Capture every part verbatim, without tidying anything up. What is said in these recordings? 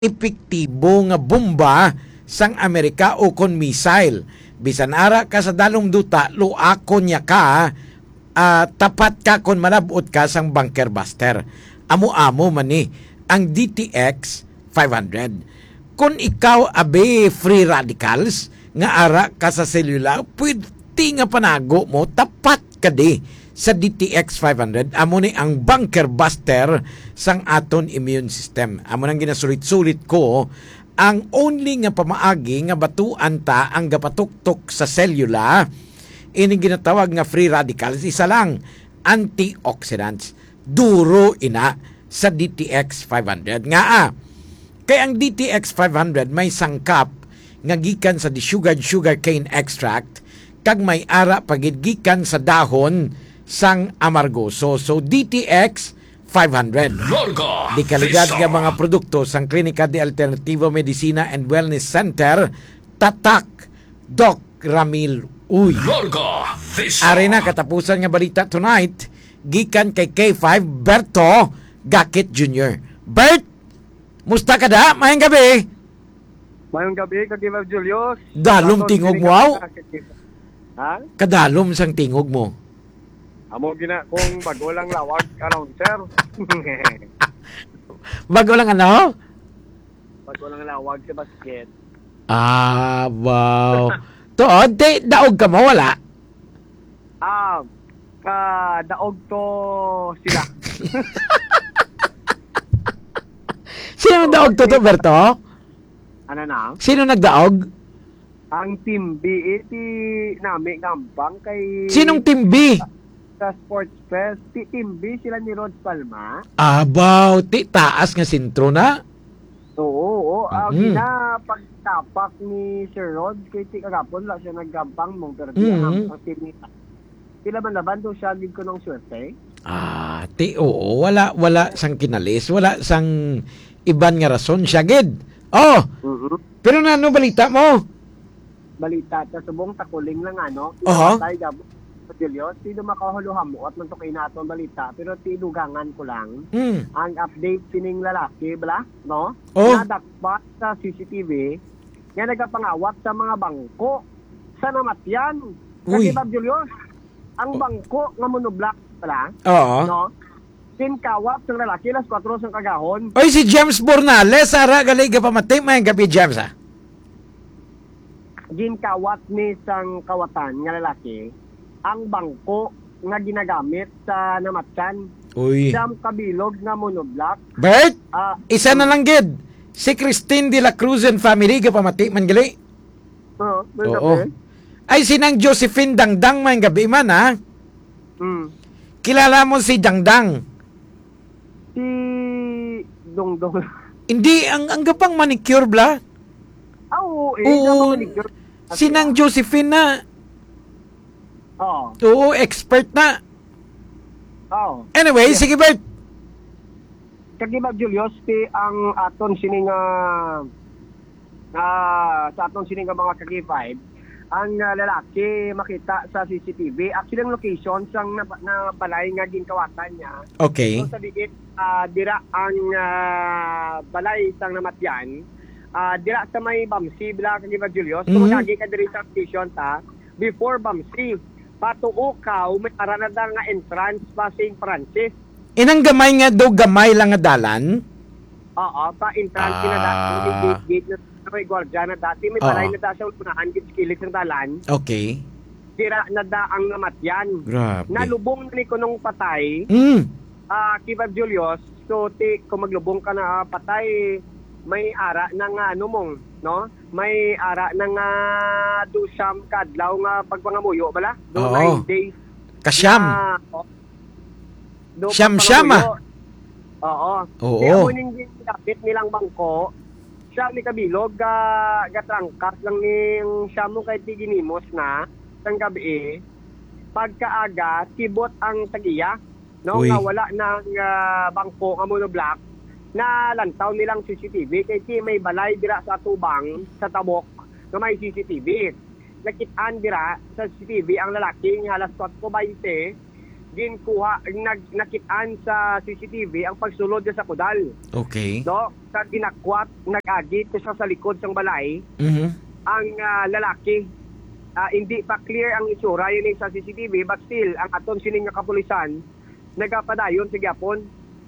epektibo nga bomba sang Amerika o kon missile. Bisan ara ka sa dalom duta, luakon niya ka, ah, tapat ka kon malab-ot ka sang bunker buster. Amo-amo man ni ang D T X five hundred. Kon ikaw abi free radicals nga ara ka sa selula, pwede nga panago mo, tapat ka di sa D T X five hundred. Amo ni ang bunker buster sang aton immune system. Amo nang ginasulit-sulit ko, ang only nga pamaagi nga batuan ta ang gapatuktok sa selula, ining ginatawag nga free radicals, isa lang, antioxidants. Duro ina sa D T X five hundred. Ngaa? Kay ang D T X five hundred may sangkap nga gikan sa desugared sugarcane extract kag may ara pa gid gikan sa dahon sang amargoso. So, D T X five hundred. Larga Dekalidad nga Vista. Mga produkto sang Klinika de Alternativo Medicina and Wellness Center, tatak, Doc Ramil Uy. Larga Vista. Ari na katapusan nga balita tonight, gikan kay K five Berto Gakit Junior. Bert, musta ka da? Mayang gabi. Mayong gabi, Kagiba Julius. Dalom Aton tingog mo, aw? Ha? Kadalom sang tingog mo. Amo gina kung bago lang lawag announcer. Bago lang ano? Bago lang lawag sa basket. Ah, wow. Tuod, te, daog ka mo, wala? Ah, ka daog to sila. Sino ang daog to, to, Berto? Ano na? Sino nagdaog? Ang Team B, eh, ti nami nga ambang kay Sinong Team B? Sa Sports Fest, ti Team B sila ni Rod Palma. Abaw, ti taas nga sentro na? Oo, oo. Ah, Mm. Gina, pagtapak ni Sir Rod, kay ti kagapon la siya naggampang mong, pero di Mm. ang, ang team ni Pila man laban do siya gid kunong swerte? Ah, ti, oo, wala, wala sang kinalis, wala sang iban nga rason siya gid. Oh, Mhm. Pero nano balita mo? Balita ta subong takuling lang ano. Aha. Pinatay gab-, Julio, sino makahuluhamuot man to kay nato ang balita, pero ti dugangan ko lang. Hmm. Ang update sining lalaki, bala, no? Oh. Nadakpa sa C C T V nga nagapangawat sa mga bangko sa namatyan. Uy. Kasi, Bob Julio, ang Oh. bangko nga monoblock pala, Oo. no? Ginkawat sang lalaki alas kuwatro sang kagahon. Oy, si James Bornales, ara, gali, gapamati, may gabi, James, ah. Ginkawat ni sang kawatan nga lalaki ang bangko nga ginagamit sa namatyan. Uy. Siyam ka bilog nga monoblock. Bert, Ah, isa na mm. lang gid. Si Christine de la Cruz and family, gapamati man gali. Oo, may Oo. kape. Ay, si Nang Josephine Dangdang, may gabi man, ha? Mm. Kilala mo si Dangdang? Si Dongdong. Hindi, ang, ang gapang manicure, bla? Ah, oo, eh, Oo, gapang manicure. Si Nang Josephine na. Oo. Oo, expert na. Oo. Anyway, Yeah. sige, Bert. Kag iba, Julius, ti ang aton sini nga, ah, sa aton sini nga mga ka-K five, ang, ah, lalaki makita sa C C T V. Actually, ang location sang na, na balay nga ginkawatan niya. Okay. So, sa diin, ah, dira ang, ah, balay sang namatyan. Ah, dira sa may Bamsi, bila ka, Julius. So, Mhm. magagi ka diri sa station ta, before Bamsi. Patuo ka, may ara na da nga entrance pa sing Francis. Inang gamay nga daw, gamay lang nga dalan? Oo, pa entrance na da, Ah. may gate, gate na, may gwardiya na dati, may Ah. balay na da sa unahan, gid sa kilid ng dalan. Okay. Dira na da ang namatyan. Grabe. Nalubong na ni kunong patay. Mm. Ah, Kiba Julius, so, ti, kung maglubong ka na, ah, patay, may ara na nga, ano mong, no? May ara na nga do siyam ka adlaw nga pagpangamuyo, bala? Do Oo. nine days. Kasyam. Na, oh, do Siyam-siyam, ah. pagpangamuyo. Oo. Oo. Di amo ning ginapit nilang bangko. Siya ni kabilog, ga-, gatrangkas lang ning siya mo kay tiginimos na, sang gabi. Pagkaaga, kibot ang tagiya. No, Uy. nga wala nang, ah, bangko nga monoblock, nalantaw nilang C C T V kay ti may balay dira sa atubang, sa tabok, nga may C C T V. Nakit-an dira sa C C T V ang lalaki nga alas kuwatro baynte, ginkuha, nag-, nakit-an sa C C T V ang pagsulod niya sa kudal. Okay. No? Sa ginakwat, nag-agi to siya sa likod sang balay, Mhm. ang, ah, lalaki. Ah, hindi pa clear ang itsura yun sa C C T V, but still, ang aton sining nga kapulisan, nagapadayon sa gyapon,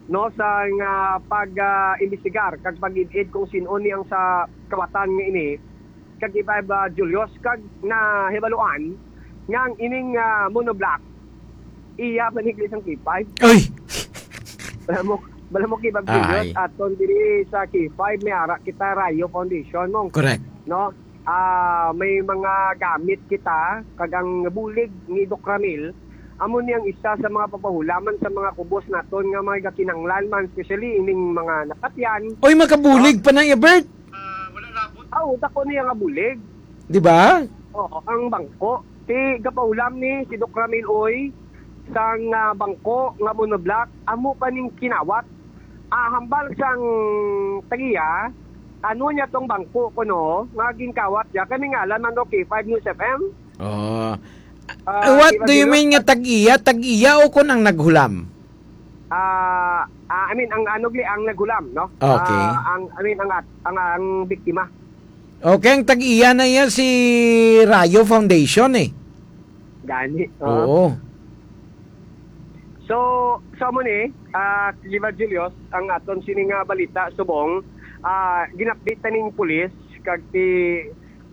no, sa nga pag, ah, imbestigar kag pag-id-id kung sin-o ni ang sa kawatan nga ini, kag iba, iba, Julius, kag nahibaluan nga ang ining, ah, monoblock, iya man ni sang K five. Ay! Bala mo, bala mo, Kibag Julius, Ay. aton diri sa K five, may ara kita Rayo Foundation, mong, Correct. no? Ah, may mga gamit kita, kag ang bulig ni Doc Ramil, amo ni ang isa sa mga papahulaman sa mga kubos naton nga mga gakinanglan man, especially ining mga nakatyan. Oy, makabulig pa na iya, Bert. Ah, wala labot. Ah, utak ko niya nga bulig. Di ba? Oo, ang bangko. Si gapahulam ni si Doc Ramil, oy, sang, ah, bangko nga monoblock, amo pa ning kinawat. Ah, hambal sang tagiya, ano niya tong bangko kuno nga ginkawat niya? Kay may ngalan man, no, K five News F M. Oh. Ah, What Kibag do you Julius, mean nga tag-iya? Tag-iya o kun ang naghulam? Ah, ah, I mean, ang ano, gli-, ang naghulam, no? Okay. Ah, ang, I mean, ang at-, ang, ang biktima. Okay, ang tag-iya na iya si Rayo Foundation, eh. Gani, oh. Oo. So, sa mo ni, ah, Kibag Julius, ang aton sini nga balita subong, ah, gin-update ta ning pulis kag ti,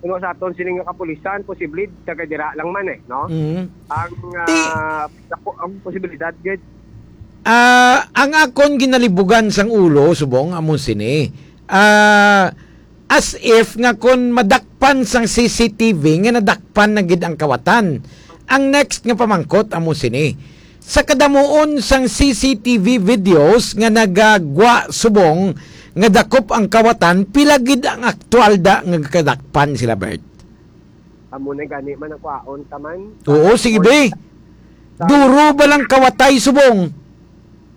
ano, sa aton sini nga kapulisan, posible taga dira lang man, eh, no? Mhm. Ang, Ti- ah, dako ang posibilidad, gid. Ah, ang akon ginalibugan sang ulo subong amo sini. Ah, as if nga kon madakpan sang C C T V nga nadakpan na gid ang kawatan. Ang next nga pamangkot amo sini. Sa kadamuon sang C C T V videos nga nagagwa subong nga dakop ang kawatan, pila gid ang aktual da nga kadakpan sila, Bert? Amo na gani man ang kwaon ta man. Oo, sige, be. Duro ba lang kawatay subong?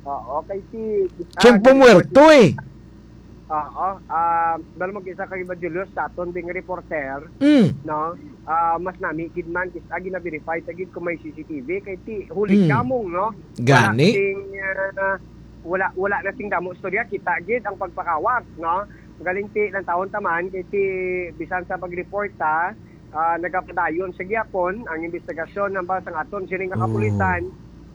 Oo, kay si, ah, Tiyempo muerto, eh. Oo, ah, dahil mag-isa kay Julius sa aton ding reporter, Mm. no? Ah, mas nami gid man, kis-, ah, gina-verify ta gid kung may C C T V, kay ti, huli Mm. kamong, no? Gani? Wala sing, ah, wala, wala na sing damo istorya, kita gid ang pagpakawat, no? Galing ti, lang taon taman, kay ti, bisan sa pag-report ta, ah, nagapadayon sa gihapon ang investigasyon ng sang aton sining nga Oh. kapulisan.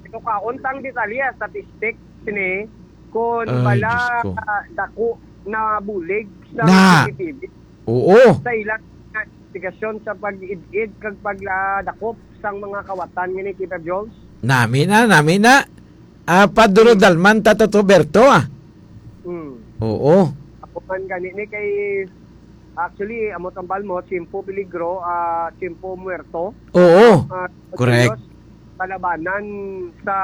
Ito ka, untang detalye, statistic sini, kung Ay, bala, Diyos ko. ah, dako na bulig sa Na. C C T V. Oo. Sa ilang investigasyon sa pag-id-id kag pagladakop sang mga kawatan nga ni Kita Jones. Nami na, nami na. Ah, Paduro Hmm. Dalman, Tato Berto, ah. Hmm. Oo. Ako man gani ni kay, actually, amo tambal mo, Tiempo Peligro, ah, Tiempo Muerto. Oo. Ah, Correct. Diyos, kalabanan sa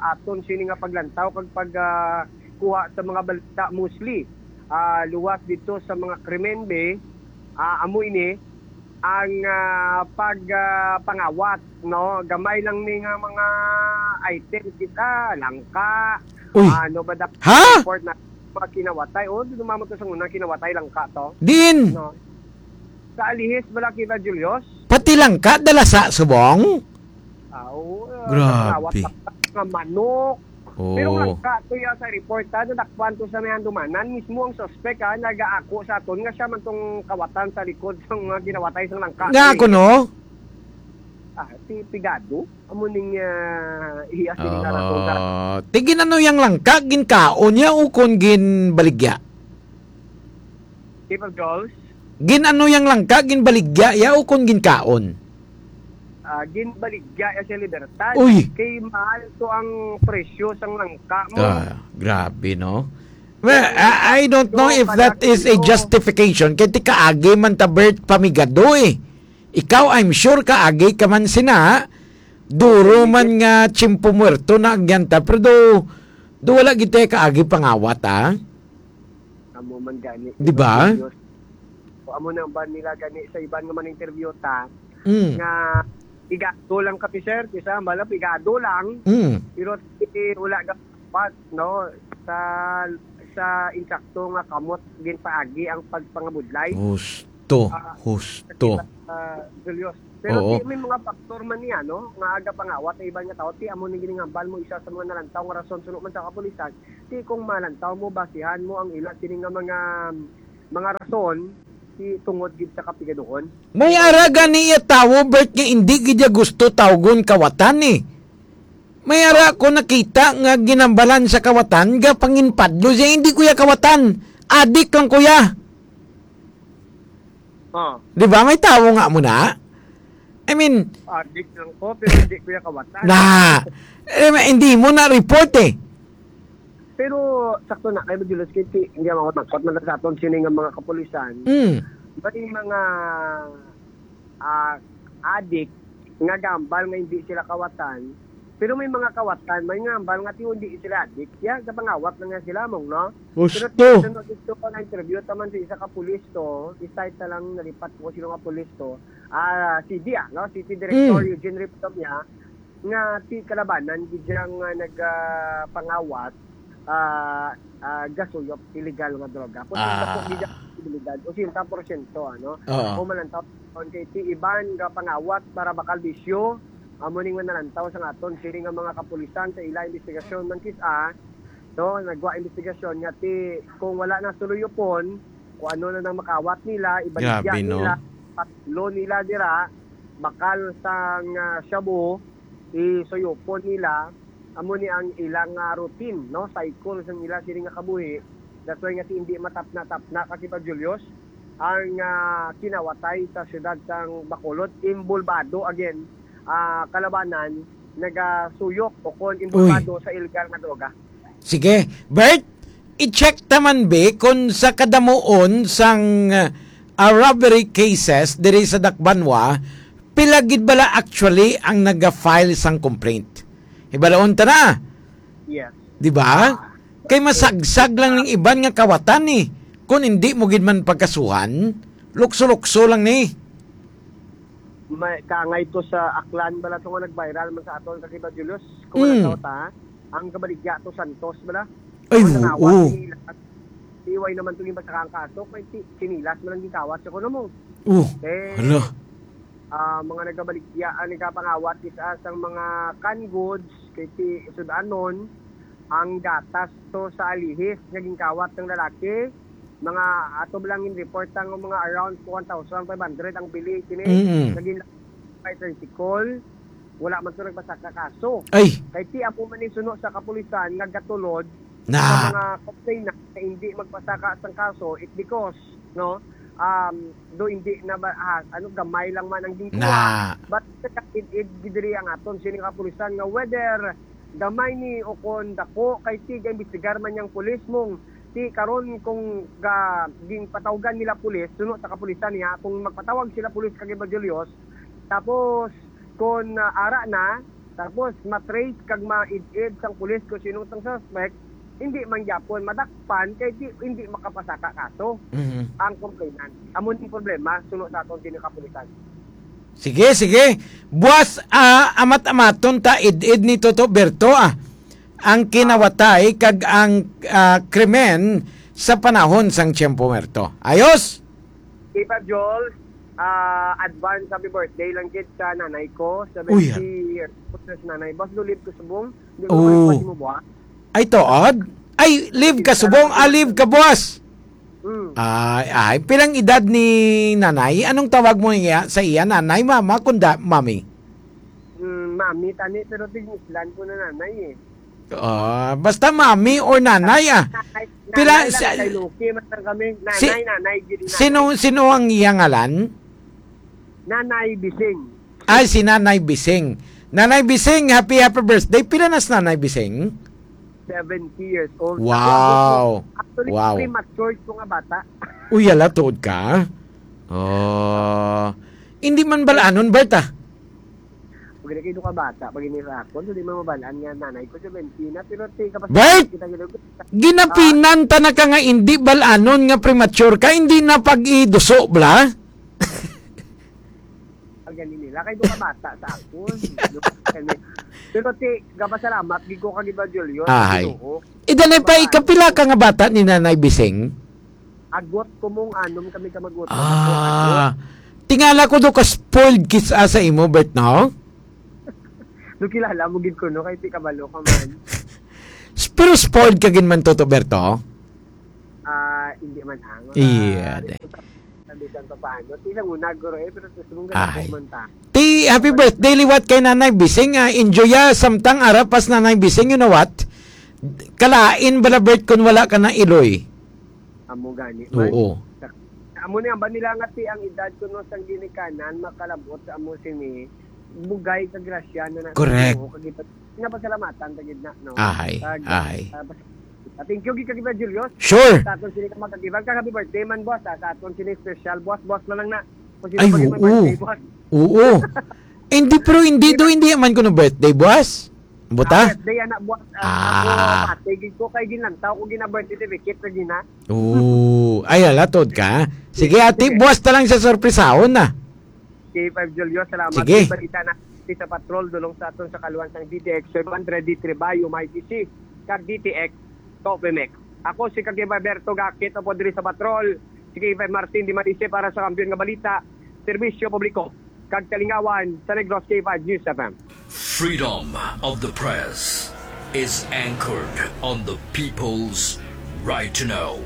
aton sini nga paglantaw kag pag, ah, kuha sa mga balita mostly, ah, luwas dito sa mga krimen, be, ah, amo ini ang, ah, pag, ah, pangawat, no? Gamay lang ni nga mga item kita, langka, Uy. ano ba da-, Ha? report na mga kinawatay. Oh, di naman to sa una, kinawatay langka to. Din? No? Sa alihis, wala kita, Julius? Pati langka, dala sa subong? Ah, oo, ah, Grabe. Kinawat nga manok. Oo. Pero ang langka to ya sa report, ha, nadakpan to sa may handumanan. Mismo ang suspect, ha, nagaako sa aton nga siya man tong kawatan sa likod sa mga ginawatay sa langka. Nga Eh, ako, no? Ah, si Pigado, amo ning, ah, iya, si Pigado, Ah, ti gin-ano yang langka, ginkaon niya o kon ginbaligya? People goals? Gin-ano yang langka, ginbaligya ya o kon ginkaon? Ah, ginbaligya ya sa Libertad. Uy! Kay mahal to ang presyo sang langka mo. Ah, grabe, no? Well, I, I don't know if that is a justification. Kay ti kaagi man ta, Bert, pamigado, eh. Ikaw, I'm sure kaagi ka man sina. Duro man nga tiyempo muerto na agyan ta, pero do, do wala gid tayo kaagi pangawat, ah. Amo man gani. Di ba? O, amo nang ba nila gani sa iban nga man interview ta, Mm. nga pigado lang kape, sir, kisa mala pigado lang. Mm. Pero, eh, wala dapat, no, sa, sa insakto nga kamot ginpaagi ang pagpangabudlay. Us-, Husto, Ah, husto. Katiba, ah, Julius. Pero Oo. Ti, may mga faktor man niya, no? Nga aga pangawat ang iban nga tao. Ti, amo ni giningambal mo, isa sa mga nalantaw nga rason suno man sa kapulisan. Ti, kung malantaw mo, basihan mo ang ila sini nga mga, mga rason, ti, tungod gid sa kapigaduhon. May ara gani iya tawo, Bert, nga hindi gid iya gusto tawgon kawatan, eh. May ara ko nakita nga ginambalan sa kawatan, ga panginpadlo siya, "Hindi ko ya kawatan. Adik lang ko ya." Oh. Di ba? May tawo nga mo na. I mean, Adik lang ko, pero hindi ko ya kawatan. Na, eh, ma-, hindi mo na report eh. Pero sakto na, kay Julius, kay ti-, hindi ako magkot man sa aton sini nga mga kapulisan. Mm. May mga, ah, adik nga gambal nga hindi sila kawatan. Pero may mga kawatan, may nga gambal nga tiyo hindi sila adik. Ya, gapangawat na nga sila, mong, no? Pero Husto. Tiyo, sunod ito pa na interview, taman sa isa ka pulis to, isa-isa lang nalipat ko sino nga pulis to. Ah, C D, ah, no? City Director Mm. Eugene Riptomia, nga ti kalabanan gid siya nga nag, ah, pangawat, ah, ah, gasuyop illegal nga droga. Posible Ah. po gid ang posibilidad, ochenta porsyento, ano? Oo. O malantaw, kay ti iban nga pangawat para bakal bisyo, amo ni nga nalantaw sa aton sini nga mga kapulisan sa ila investigasyon man kis-a, no? Nagwa investigasyon nga ti kung wala na suluyupon, kung ano na nang makawat nila, ibaligya Grabe, no? nila, patlo nila dira, bakal sang, ah, shabu, isuyupon nila, amo ni ang ilang, ah, routine, no? Cycle sang ila sini nga kabuhi. That's why nga ti hindi matapna-tapna, Kasipa Julius, ang, ah, kinawatay sa siyudad sang Bacolod, imbulbado again, ah, kalabanan, nagasuyok o kon imbulbado Uy. sa illegal nga droga. Sige, Bert, i-check ta man, be, kung sa kadamuon sang, ah, robbery cases diri sa Dakbanwa, pila gid bala actually ang naga-file sang complaint? Hibalaon ta na. Yes. Di ba? Kay masagsag lang ning iban nga kawatan ni. Kung hindi mo gid man pagkasuhan, lukso-lukso lang ni. May, kaangay to sa Aklan bala to nga nag-viral man sa aton, Kasipa Julius. Kung Mm. wala ta, ang kabaligya to Santos bala. Ay, Ang nangawat, oo. sinilas. Iway naman to yung basta kang kaso, kay si-, sinilas man ang gikawat sa kuno mo. Oh, Eh, hala. ah, mga nagabaligya, ah, nagapangawat isa sang mga canned goods, kay ti sudanon, ang gatas to sa alihis nga ginkawat ng lalaki, mga ato lang in report ang mga around one thousand five hundred ang bili kini. Mm-mm. Naging by tricycle, wala man to nagpasaka kaso. Ay. Kay ti amo man ni suno sa kapulisan nga gatulod Na. sa mga complainant na hindi magpasaka sang kaso, it because, no, um, do hindi na ba, ah, ano, gamay lang man ang ginkuha. Na. But it, it, gidiri ang aton sining kapulisan nga whether gamay ni o kon dako, kay ti gaimbestigar man yang pulis mong ti karon kung ga-, ginpatawgan nila pulis, suno sa kapulisan niya, kung magpatawag sila pulis kag Evangelos, tapos kon, ah, ara na, tapos matrace kag maid-id sang pulis kung sino sang suspect, hindi man gyapon madakpan kay di, hindi makapasaka kaso Mhm. ang complainant. Amo ning problema suno sa aton kini kapulisan. Sige, sige. Buwas, ah, amat-amaton ta id-id ni Toto Berto, ah, ang kinawatay kag ang, ah, krimen sa panahon sang Tiempo Muerto. Ayos? Tita Jol, ah, advance happy birthday lang gid sa nanay ko, Uy, seventy years old na si nanay. Boss, do live ko subong. Di ko Oh. naman mo buha. Ay, tuod? Ay, live ka subong, ah, live ka, boss. Mm. Ay, ay, pilang edad ni nanay? Anong tawag mo niya sa iya? Nanay, mama, kunda, mami? Mm, mami, tani, pero tig-Islan ko na nanay eh. Ah, basta mami or nanay, ah. Nanay, Pila nanay lang sa kay Lucky, man lang kami. Si-, Nanay, nanay, gid nanay. sino, sino ang iyang ngalan? Nanay Bising. Ay, si Nanay Bising. Nanay Bising, happy, happy birthday. Pila na si Nanay Bising? Seventy years old. Wow. Ako, ako, actually, Wow. premature ko nga bata. Uy, ala, tuod ka? Oh. Hindi man balanon, Bert, ah. Pag nagkaido ka bata, pag inira ako, hindi mo mabalaan nga nanay ko, seventy na, pero ti, kapag Bert! kita gid, Ginapinan ta na ka nga hindi balanon nga premature ka, hindi na pag-iduso, bla? Ang galing nila, kay doon ka bata sa ako. Pero ti, gapasalamat, di ko kag Evangelio, Ahay. Ginoo. Idanay pa, Bata. ikapila ka nga bata ni Nanay Bising? Agot ko mong anom kami ka mag-utro. Ah, tingala ko do ka spoiled kids sa imo, Bert, no? Do kilala mo gid ko, no? Kay ti kabalo ka man. S- Pero spoiled ka gid man, Toto Berto? Ah, hindi man ang. Iya, Ah, de. Sabi sa paano. Ti lang una, guro, eh, pero gusto mong Ay. Ganito man ta. Ti, happy birthday liwat kay Nanay Bising. Ah, enjoy ya, samtang ara pas Nanay Bising, you know what? Kalain bala, Bert, kun wala ka na iloy. Amo gani man. Oo. Amo ni ang ba nila nga ti ang edad ko no sang ginikanan makalabot sa amo sini bugay ka grasya na na Correct. Sa Ginoo, kag ipa-, pinapasalamatan ta gid na, no? Ahay, Kag, ahay. ah, pas-, ah, thank you gid kag iba, Julius. Sure. Sa aton sini ka magkagibang ka, happy birthday man, boss, ah, sa aton sini special, boss, boss na lang na. Kung sino Ay, pa gid may oo. Birthday, boss. Oo. Hindi, pero hindi do, hindi man ko no birthday, boss. Buta? Ah, birthday, anak, buwan. Ah, Ah. Ako, pati gid ko kay ginlantaw ko gina birth certificate na gina. Oo. Ay, ala, tuod ka. Sige, ate, Sige. Buwas na lang sa sorpresahon na. K five Julio, salamat. Sige. May balita na sa patrol, dulong sa aton sa kaluan sang D T X, five hundred D three Bayo, may D C, kag D T X, Topimex. Ako si Kagiba Berto Gakit, apo diri sa patrol. Si K five Martin Di Malise para sa Kampiyon nga Balita, Serbisyo Publiko, kag Kalingawan sa Negros, K five News F M. Freedom of the press is anchored on the people's right to know.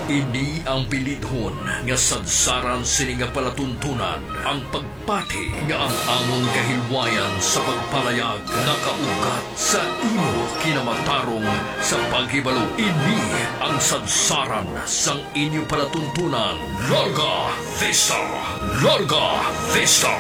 Ini ang bilidhon nga sadsaran sini nga palatuntunan, ang pagpati nga ang amon kahilwayan sa pagpalayag nakaugat sa imo kinamatarong sa paghibalo. Ini ang sadsaran sang inyo palatuntunan. Larga Vista! Larga Vista!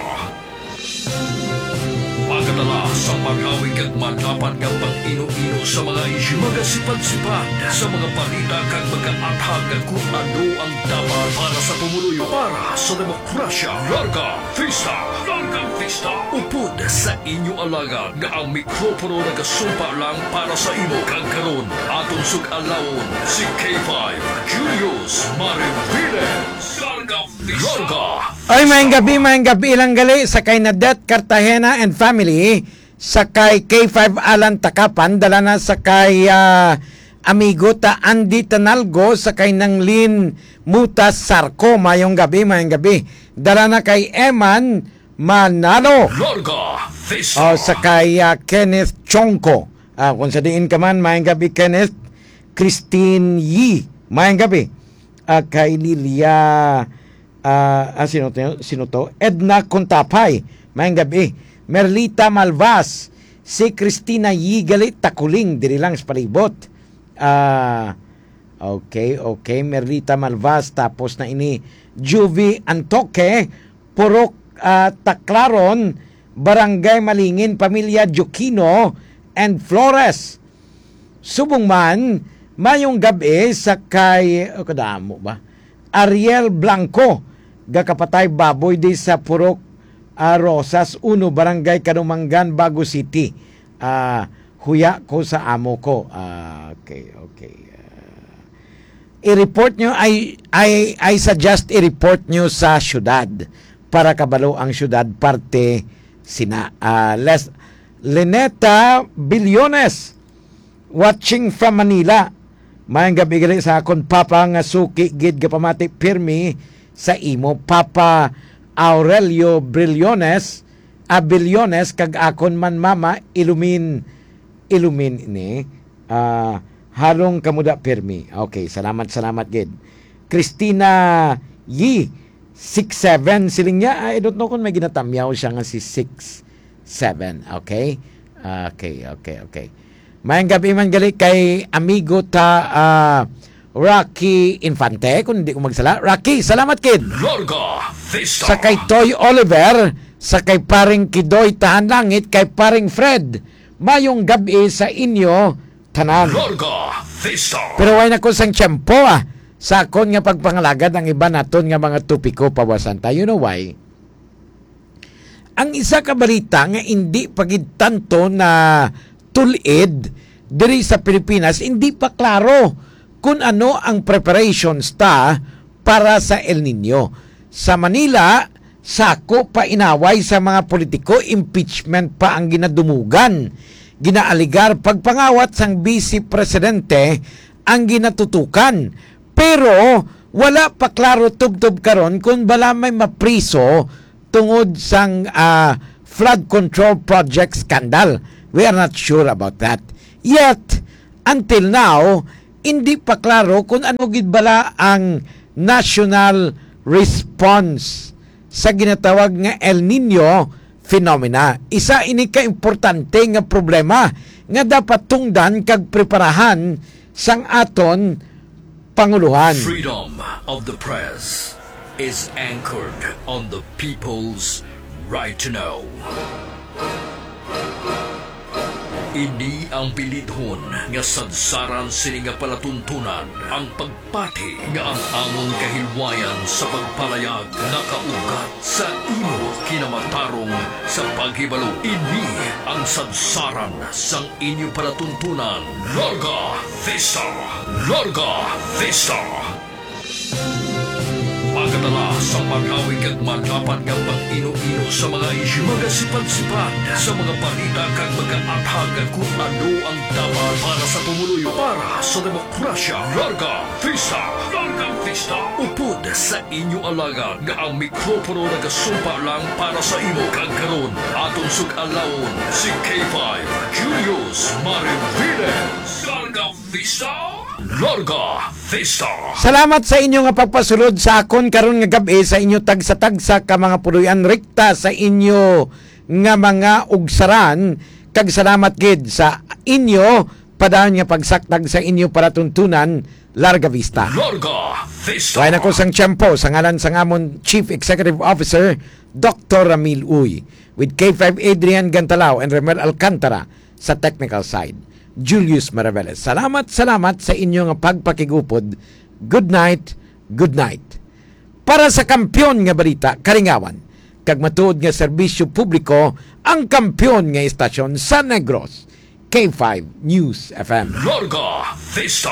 Magadala sa marawi kag madapat nga pang-ino-ino sa mga isyu, magasipad-sipad sa mga balita kag magaathag kung ano ang dapat para sa pumuluyo, para sa demokrasya. Larga Vista! Larga Vista! Upod sa inyo alagad nga ang mikropono nagasumpa lang para sa imo. Kag karon, aton sug-alawon si K five Julius Mariviles. Larga Vista! Larga Ay, maayong gabi, maayong gabi lang gali sa kay Nadet Cartagena and family, sa kay K five Alan Takapan, dala na sa kay, ah, amigo ta Andy Tanalgo, sa kay Nanglin Mutas Sarco. Maayong gabi, maayong gabi. Dala na kay Eman Manalo. Larga Vista. O, sa kay, ah, Kenneth Chongco. Ah, kung sa diin ka man, maayong gabi, Kenneth. Christine Yi, maayong gabi. Ah, kay Lilia, ah, ah, sino to? Sino to? Edna Contapay, maayong gabi. Merlita Malvas, si Christina Yi gali, Takuling, diri lang sa palibot. Ah, okay, okay. Merlita Malvas, tapos na ini. Juvie Antoque, Purok, ah, Taclaron, Barangay Malingin, pamilya Jokino and Flores. Subong man, maayong gab-i sa kay, oh, kadamo ba? Ariel Blanco, gakapatay baboy di sa Purok, ah, Rosas uno, Barangay Kanumangan, Bago City. Ah, huya ko sa amo ko. Ah, okay, okay. Ah, i-report nyo, I, I, I suggest i-report nyo sa syudad para kabalo ang syudad parte sina. Ah, Les, Leneta Billones, watching from Manila. Maayong gab-i gali sa akon papa nga suki gid, gapamati pirmi sa imo, Papa Aurelio Brillones, ah, Billones, kag akon man mama, Ilumin, Ilumin ni, ah, halong kamuda pirmi. Okay, salamat, salamat gid. Christina Yi, six seven, siling niya, I don't know kung may ginatamyaw siya nga si six seven, okay? Okay, okay, okay. Maayong gab-i man gali kay amigo ta, ah, Rocky Infante, kung di ko magsala. Rocky, salamat, kid. Larga Vista. Sa kay Toy Oliver, sa kay paring Kidoy Tahan Langit, kay paring Fred, maayong gab-i sa inyo tanan. Larga Vista. Pero way na ko sang tiyempo, ah, sa akon nga pagpangalagad ang iban naton nga mga topiko, pawasan ta. You know why? Ang isa ka balita nga indi pa gid tanto na tul-id diri sa Pilipinas, indi pa klaro kun ano ang preparations ta para sa El Niño. Sa Manila, sako pa inaway sa mga politiko, impeachment pa ang ginadumugan. Ginaaligar pagpangawat sang Vice Presidente ang ginatutukan. Pero wala pa klaro tubtob karon kung bala may mapriso tungod sang, ah, flood control project scandal. We are not sure about that. Yet, until now, hindi pa klaro kung ano gid bala ang national response sa ginatawag nga El Niño phenomena. Isa ini ka importante nga problema nga dapat tungdan kag preparahan sang aton panguluhan. Freedom of the press is anchored on the people's right to know. Ini ang bilidhon nga sadsaran sini nga palatuntunan, ang pagpati nga ang amon kahilwayan sa pagpalayag nakaugat sa imo kinamatarong sa paghibalo. Ini ang sadsaran sang inyo palatuntunan. Larga Vista! Larga Vista! Pagkadala sa pag-awig kag madapat nga pag-ino-ino sa mga isyu, magasipad-sipad sa mga balita kag magaathag kung ano ang dapat para sa pumuluyo, para sa demokrasya. Larga Vista! Larga Vista! Upod sa inyo alagad nga ang mikropono nagasumpa lang para sa imo, kag karon aton sug-alawon si K five Julius Mariviles. Larga Vista! Larga Vista! Salamat sa inyo nga pagpasulod sa akon karon nga gab-i, sa inyo tagsa-tagsa ka mga puloy-an, rekta sa inyo nga mga ugsaran, kag salamat gid sa inyo padayon nga pagsaktag sa inyo palatuntunan. Larga Vista. Larga Vista! Kaya na ko sang tiyempo, sa ngalan sang amon Chief Executive Officer, Doctor Ramil Uy, with K five Adrian Gantalao and Remel Alcantara sa technical side, Julius Maraveles. Salamat, salamat sa inyo nga pagpakigupod. Good night, good night. Para sa kampiyon nga balita, kalingawan, kag matuod nga serbisyo publiko, ang kampiyon nga istasyon sa Negros, K five News F M. Larga Vista.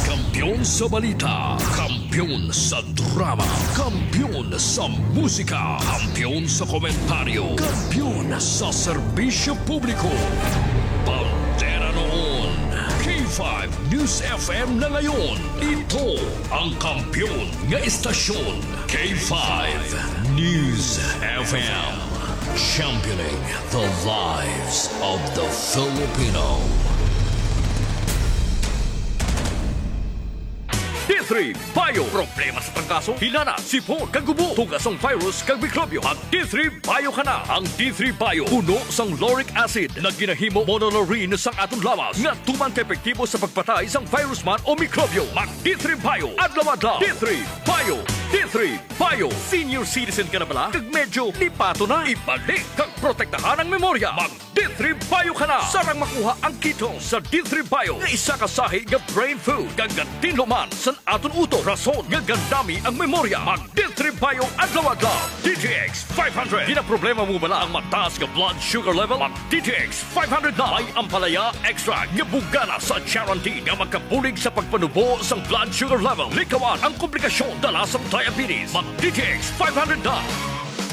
Kampiyon sa balita, kampiyon sa drama, kampiyon sa musika, kampiyon sa komentaryo, kampiyon sa serbisyo publiko. Bandera noon, K five News F M na ngayon. Ito ang kampiyon nga istasyon, K five News F M. Championing the lives of the Filipino. D three Bio. Problema sa trangkaso, hilana, sipon, kag gubo, tugas sang virus kag mikrobyo. Mag D three Bio ka na. Ang D three Bio puno sang lauric acid nga ginahimo monolaurin sang aton lawas nga tuman ka epektibo sa pagpatay sang virus man o mikrobyo. Mag D three Bio adlaw-adlaw. D three Bio. D three Bio. Senior citizen ka na bala? Kag medyo lipaton na? Ibalik kag protektahan ang memorya. Mag D three Bio ka na. Sarang makuha ang ketone sa D three Bio nga isa ka sahi nga brain food kag gatinlo man sa aton utok, rason nga gandami ang memorya. Mag D three Bio adlaw-adlaw. D T X five hundred. Ginaproblema mo bala ang mataas nga blood sugar level? Mag D T X five hundred na. May ampalaya extract nga bugana sa charantin nga makabulig sa pagpanubo sang blood sugar level. Likawan ang komplikasyon dala sa diabetes. Mag D T X five hundred na.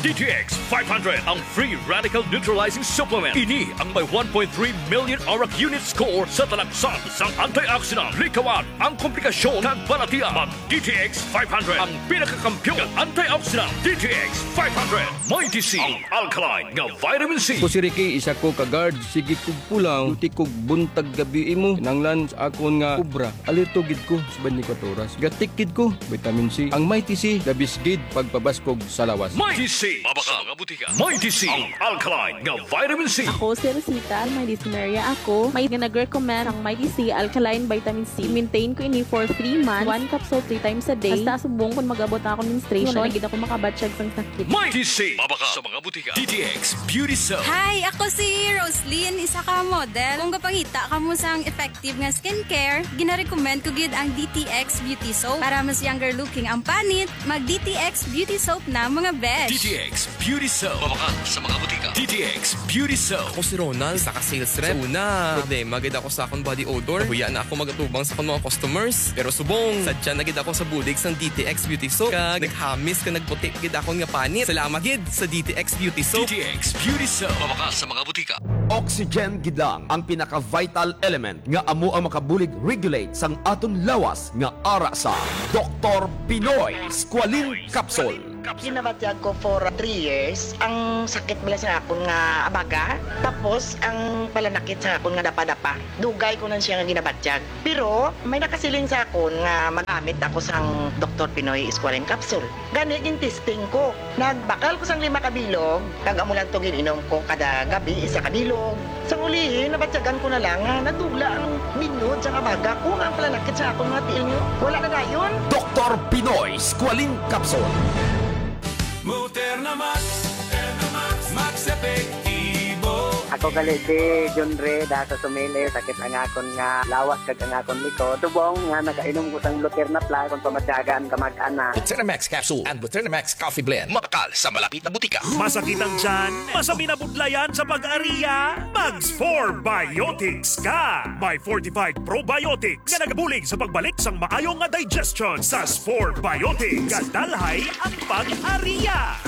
D T X five hundred, ang free radical neutralizing supplement. Ini ang may one point three million arak unit score sa talaksan sang antioxidant. Likawan ang komplikasyon kag balatian. Mag D T X five hundred, ang pinakakampiyon nga antioxidant. D T X five hundred, Mighty C, ang alkaline nga vitamin C. Ako si Ricky, isa ko ka guard. Sige kog pulaw, duty kog buntag gabi imo. Kinahanglan sa akon nga obra. Alerto gid ko sa twenty-four oras. Gatik gid ko, vitamin C. Ang Mighty C, the best gid pagpabaskog sa lawas. Mighty C, mabaka sa mga butika. Mighty C, ang alkaline nga vitamin C. Ako si Rosita, may dysmenorrhea ako. May nga nag-recommend ang Mighty C alkaline vitamin C. I-maintain ko ini for three months. One capsule three times a day. Hasta subong kung mag-abot na ako menstruation, wala na gid ako makabatsyag sang sakit. Mighty C, mabaka sa mga butika. D T X Beauty Soap. Hi, ako si Roslyn, isa ka model. Kung gapangita kamo sang effective nga skincare, ginarecommend ko gid ang D T X Beauty Soap. Para mas younger looking ang panit, mag D T X Beauty Soap na, mga besh. D T X Beauty Soap. Mabakal sa mga butika. D T X Beauty Soap. Ako si Ronald, isa ka sales rep. Sa una, problema gid ako sa akong body odor. Nahuya na ako magatubang sa akong mga customers. Pero subong, sadya na gid ako sa bulig sang D T X Beauty Soap. Kag naghamis ka nagputi gid akon nga panit. Salamat gid sa D T X Beauty Soap. D T X Beauty Soap. Mabakal sa mga butika. Oxygen gid lang ang pinaka-vital element nga amo ang makabulig regulate sang aton lawas nga ara sa Doktor Pinoy Squalene Capsule. Ginabatyag ko for three years ang sakit bala sa akon nga abaga, tapos ang palanakit sa akon nga dapa-dapa. Dugay ko na siya nga ginabatyag. Pero may nakasiling sa akon nga magamit ako sang Doktor Pinoy Squalene Capsule. Gani, gin-testing ko. Nagbakal ko sang lima ka bilog, kag amo lang to gin-inom ko kada gabi, isa ka bilog. Sang ulihi, nabatyagan ko na lang nga nagdugla ang binyod sang abaga ko, nga ang palanakit sa akon mga tiil niyo wala na dayon. Doktor Pinoy Squalene Capsule. Moderna Max, Moderna Max, Max Epektibo. Ako gali si John Red, ah, sa Sumili, sakit ang akon nga lawas kag ang akon likod. Subong nga nakainom ko sang Luterna Plus, kung pamatyagan, kamag-ana. Luterna Max Capsule and Luterna Max Coffee Blend. Mabakal sa malapit na butika. Masakit ang tiyan? Masabi na budlayan sa pag-ariya? Mag Spore Biotics ka! May fortified probiotics nga nagabulig sa pagbalik sang maayo nga digestion. Sa Spore Biotics, gadalhay ang pag-ariya.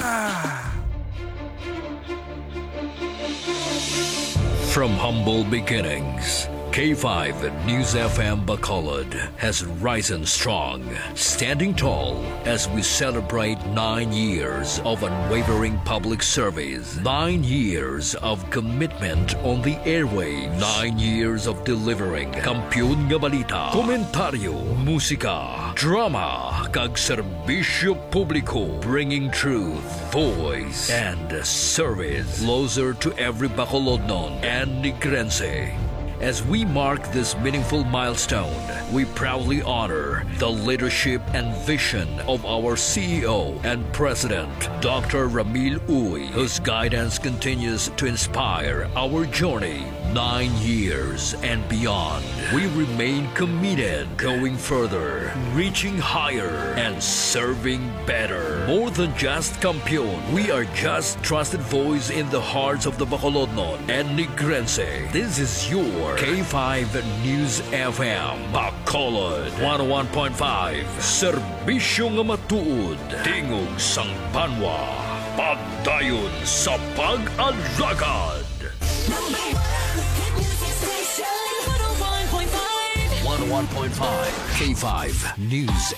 From humble beginnings, K five News F M Bacolod has risen strong, standing tall as we celebrate nine years of unwavering public service, nine years of commitment on the airwaves, nine years of delivering kampiyon nga balita, komentaryo, musika, drama, kag serbisyo publiko, bringing truth, voice, and service closer to every Bacolodnon and Negrense. As we mark this meaningful milestone, we proudly honor the leadership and vision of our C E O and President, Doctor Ramil Uy, whose guidance continues to inspire our journey nine years and beyond. We remain committed, going further, reaching higher, and serving better. More than just Kampiyon, we are just trusted voice in the hearts of the Bacolodnon and Negrense. This is your K five News F M, Bacolod, one oh one point five. Serbisyo nga matuod, tingog sang banwa, pagdayon sa pag-alagad. Number one hit music station, one oh one point five. One oh one point five K five News.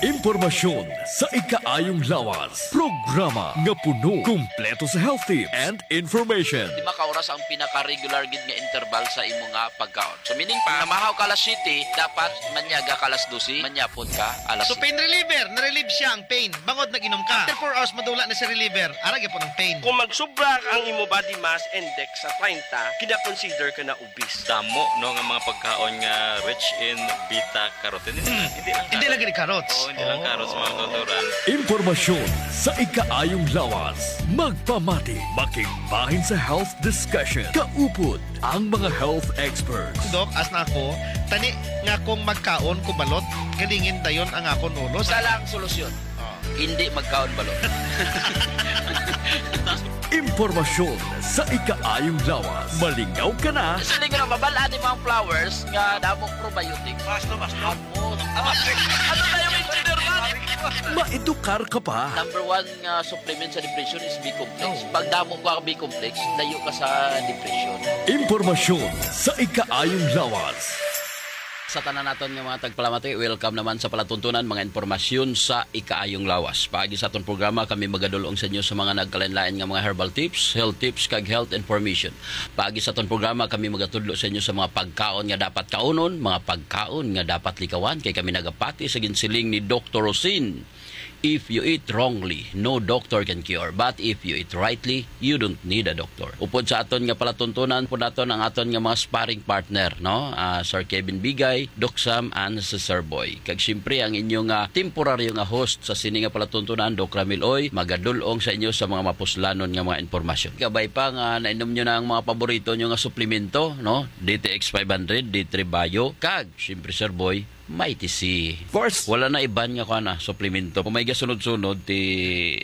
Impormasyon sa ikaayong lawas. Programa nga puno, kumpleto sa health tips and information. Lima ka oras ang pinaka-regular gid nga interval sa imo nga pagkaon. So, meaning pa, namahaw ka alas siyete, dapat manyaga ka alas dose, manyapon ka alas So, pain reliever, na-relieve siya ang pain. Bangod nag-inom ka. After four hours, madula na si reliever. Ara gyapon ang pain. Kung magsubra ang imo body mass index sa treinta, kina-consider ka na obese. Damo, no, nga mga pagkaon nga rich in beta carotene. Hindi lang, hindi lang carrots. Hindi lang carrots. Oo, hindi lang carrots, mga tuturan. Impormasyon sa ikaayong lawas. Magpamati, makigbahin sa health discussion. Kaupod ang mga health experts. Doc, as na ako, tani nga kung magkaon ko balot, galingin dayon ang akon ulo. Isa lang solusyon. Oh. Hindi magkaon balot. Impormasyon sa ikaayong lawas. Malingaw ka na. Siling nga mabal-an ni mga flowers nga damong probiotics. Mas to, mas to. Ano tayo, engineer man? Maedukar ka pa. Number one nga supplement sa depression is B-complex. Oh. Pag damo ka B-complex, layo ka sa depression. Impormasyon sa ikaayong lawas. Sa tanan naton nga mga tagpalamati, welcome naman sa palatuntunan, mga impormasyon sa ikaayong lawas. Paagi sa aton programa, kami magadul-ong sa inyo sa mga nagkalain-lain nga mga herbal tips, health tips, kag health information. Paagi sa aton programa, kami magatudlo sa inyo sa mga pagkaon nga dapat kaunon, mga pagkaon nga dapat likawan, kay kami nagapati sa ginsiling ni Doktor Rosin. If you eat wrongly, no doctor can cure. But if you eat rightly, you don't need a doctor. Upod sa aton nga palatuntunan, pod naton ang aton nga mga sparring partner, no? Ah, Sir Kevin Bigay, Doc Sam, and si Sir Boy. Kag siyempre, ang inyo nga temporaryo nga host sa sini nga palatuntunan, Doc Ramil Oy, magadul-ong sa inyo sa mga mapuslanon nga mga impormasyon. Kabay pa nga nainom nyo na ang mga paborito nyo nga suplemento, no? D T X five hundred, D three Bio, kag, siyempre, Sir Boy, Mighty C. Of course. Wala na iban nga kuan na, suplemento. Kung may gasunod-sunod, ti,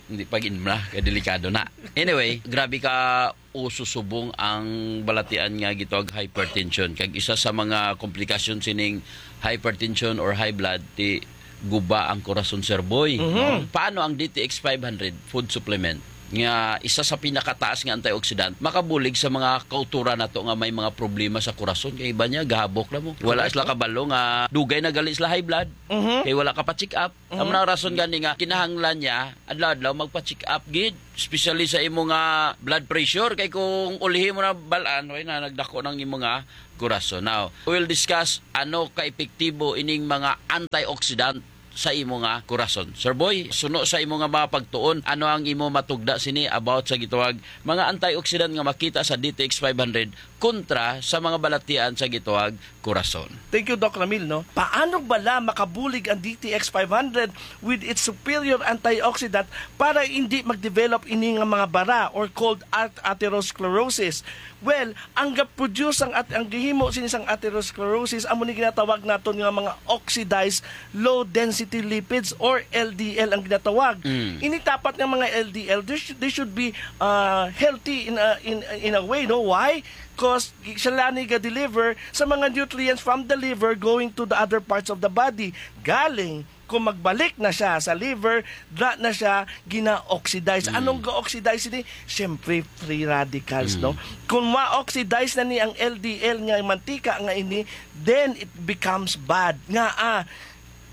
hindi pag-inmla, kay delikado na. Anyway, grabe ka uso subong ang balatian nga gitawag hypertension. Kag isa sa mga komplikasyon sining hypertension or high blood, ti guba ang korason, Sir Boy. Mhm. Paano ang D T X five hundred food supplement? Nga isa sa pinakataas nga antioxidant, makabulig sa mga kauturan nato nga may mga problema sa korason. Kay iba niya, gahabok na mo. Wala Correct, sila no? kabalo nga dugay na gali sila high blood. Mhm. Kay wala ka pa check up. Mhm. Amo na ang rason gani nga kinahanglan niya adlaw-adlaw magpa-check up gid, especially sa imo nga blood pressure. Kay kung ulhi mo na balaan, way na nagdako ng imo nga korason. Now, we'll discuss ano ka epektibo ining mga antioxidant sa imo nga korason. Sir Boy, suno sa imo nga mga pagtuon, ano ang imo matugda sini about sa gitawag mga antioxidant nga makita sa D T X five hundred kontra sa mga balatian sa gitawag korason? Thank you, Doc Ramil, no? Paano bala makabulig ang D T X five hundred with its superior antioxidant para hindi mag-develop ini nga mga bara or called at-, atherosclerosis? Well, ang ga-produce ang at-, ang gihimo sini sang atherosclerosis amo ni ginatawag naton nga mga oxidized low density lipids or L D L ang ginatawag. Mm. Ini dapat nga mga L D L, they should, they should be, uh, healthy in a, in, in a way, no? Why? Cause sila ni ga-deliver sa mga nutrients from the liver going to the other parts of the body. Galing, kung magbalik na siya sa liver, da na siya gina-oxidize. Mm. Anong ga-oxidize ini? Siyempre, free radicals, Mm. no? Kung ma-oxidize na ni ang L D L nga mantika nga ini, then it becomes bad. Nga, ah,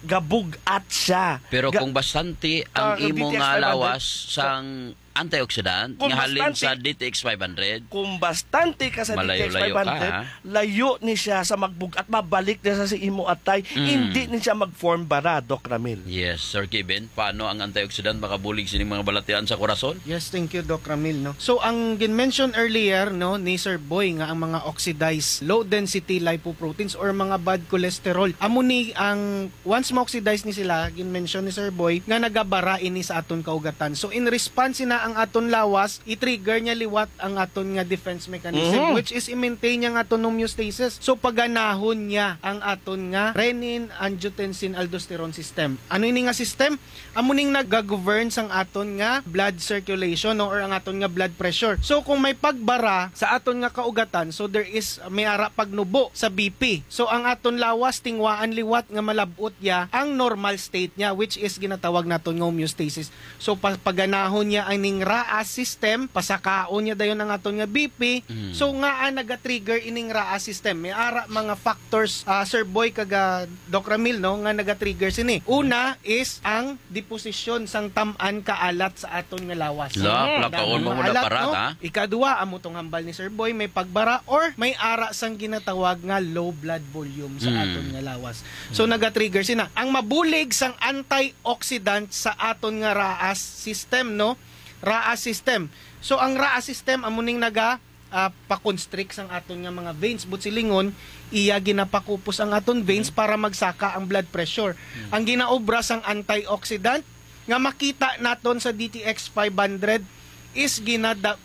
gabug-at siya. Pero Ga-, kung bastante ang ah, imo D T X nga five hundred, lawas sang antioxidant Kung nga halin bastante sa D T X five hundred, kung bastante ka sa Malayo-layo D T X five hundred, ka, ha? layo ni siya sa magbug-at, mabalik na siya sa imo atay. Mm. Hindi ni siya mag-form bara, Doc Ramil. Yes, Sir Kevin, paano ang antioxidant makabulig sining mga balatian sa korason? Yes, thank you, Doc Ramil, no. So, ang gin-mention earlier, no, ni Sir Boy nga ang mga oxidized low density lipoproteins or mga bad cholesterol, amo ni ang once ma-oxidize ni sila, gin-mention ni Sir Boy nga nagabara ini sa aton kaugatan. So, in response na ang aton lawas, i-trigger niya liwat ang aton nga defense mechanism, Mhm. which is i-maintain niya ang aton homeostasis. So, paganahon niya ang aton nga renin, angiotensin, aldosterone system. Ano ini nga system? Amo ning nagagovern sang aton nga blood circulation, no, or ang aton nga blood pressure. So, kung may pagbara sa aton nga kaugatan, so there is, may ara pagnubo sa B P. So, ang aton lawas, tingwaan liwat nga malab-ot ya ang normal state niya, which is ginatawag naton nga homeostasis. So, pa-, paganahon niya ang ning RAAS system, pasakaon niya dayon ang aton nga B P. Mm. So, ngaa naga-trigger ining RAAS system? May ara mga factors, ah, Sir Boy, kag, ah, Doc Ramil, no, nga naga-trigger sini. Una is ang deposisyon sang tam-an kaalat sa aton nga lawas. La, Mm. plakaon Damo mo nga na alat, para, no? ha? Ikadua, amo tong hambal ni Sir Boy, may pagbara or may ara sang ginatawag nga low blood volume sa Mm. aton nga lawas. So, Mm. naga-trigger sina. Ang mabulig sang antioxidant sa aton nga RAAS system, no? RAAS system. So, ang RAAS system, amo ning naga, ah, pa-constrict sang aton nga mga veins. But silingon, iya ginapakupos ang aton veins Mm. para magsaka ang blood pressure. Mm. Ang ginaobra sang antioxidant nga makita naton sa D T X five hundred is ginada-,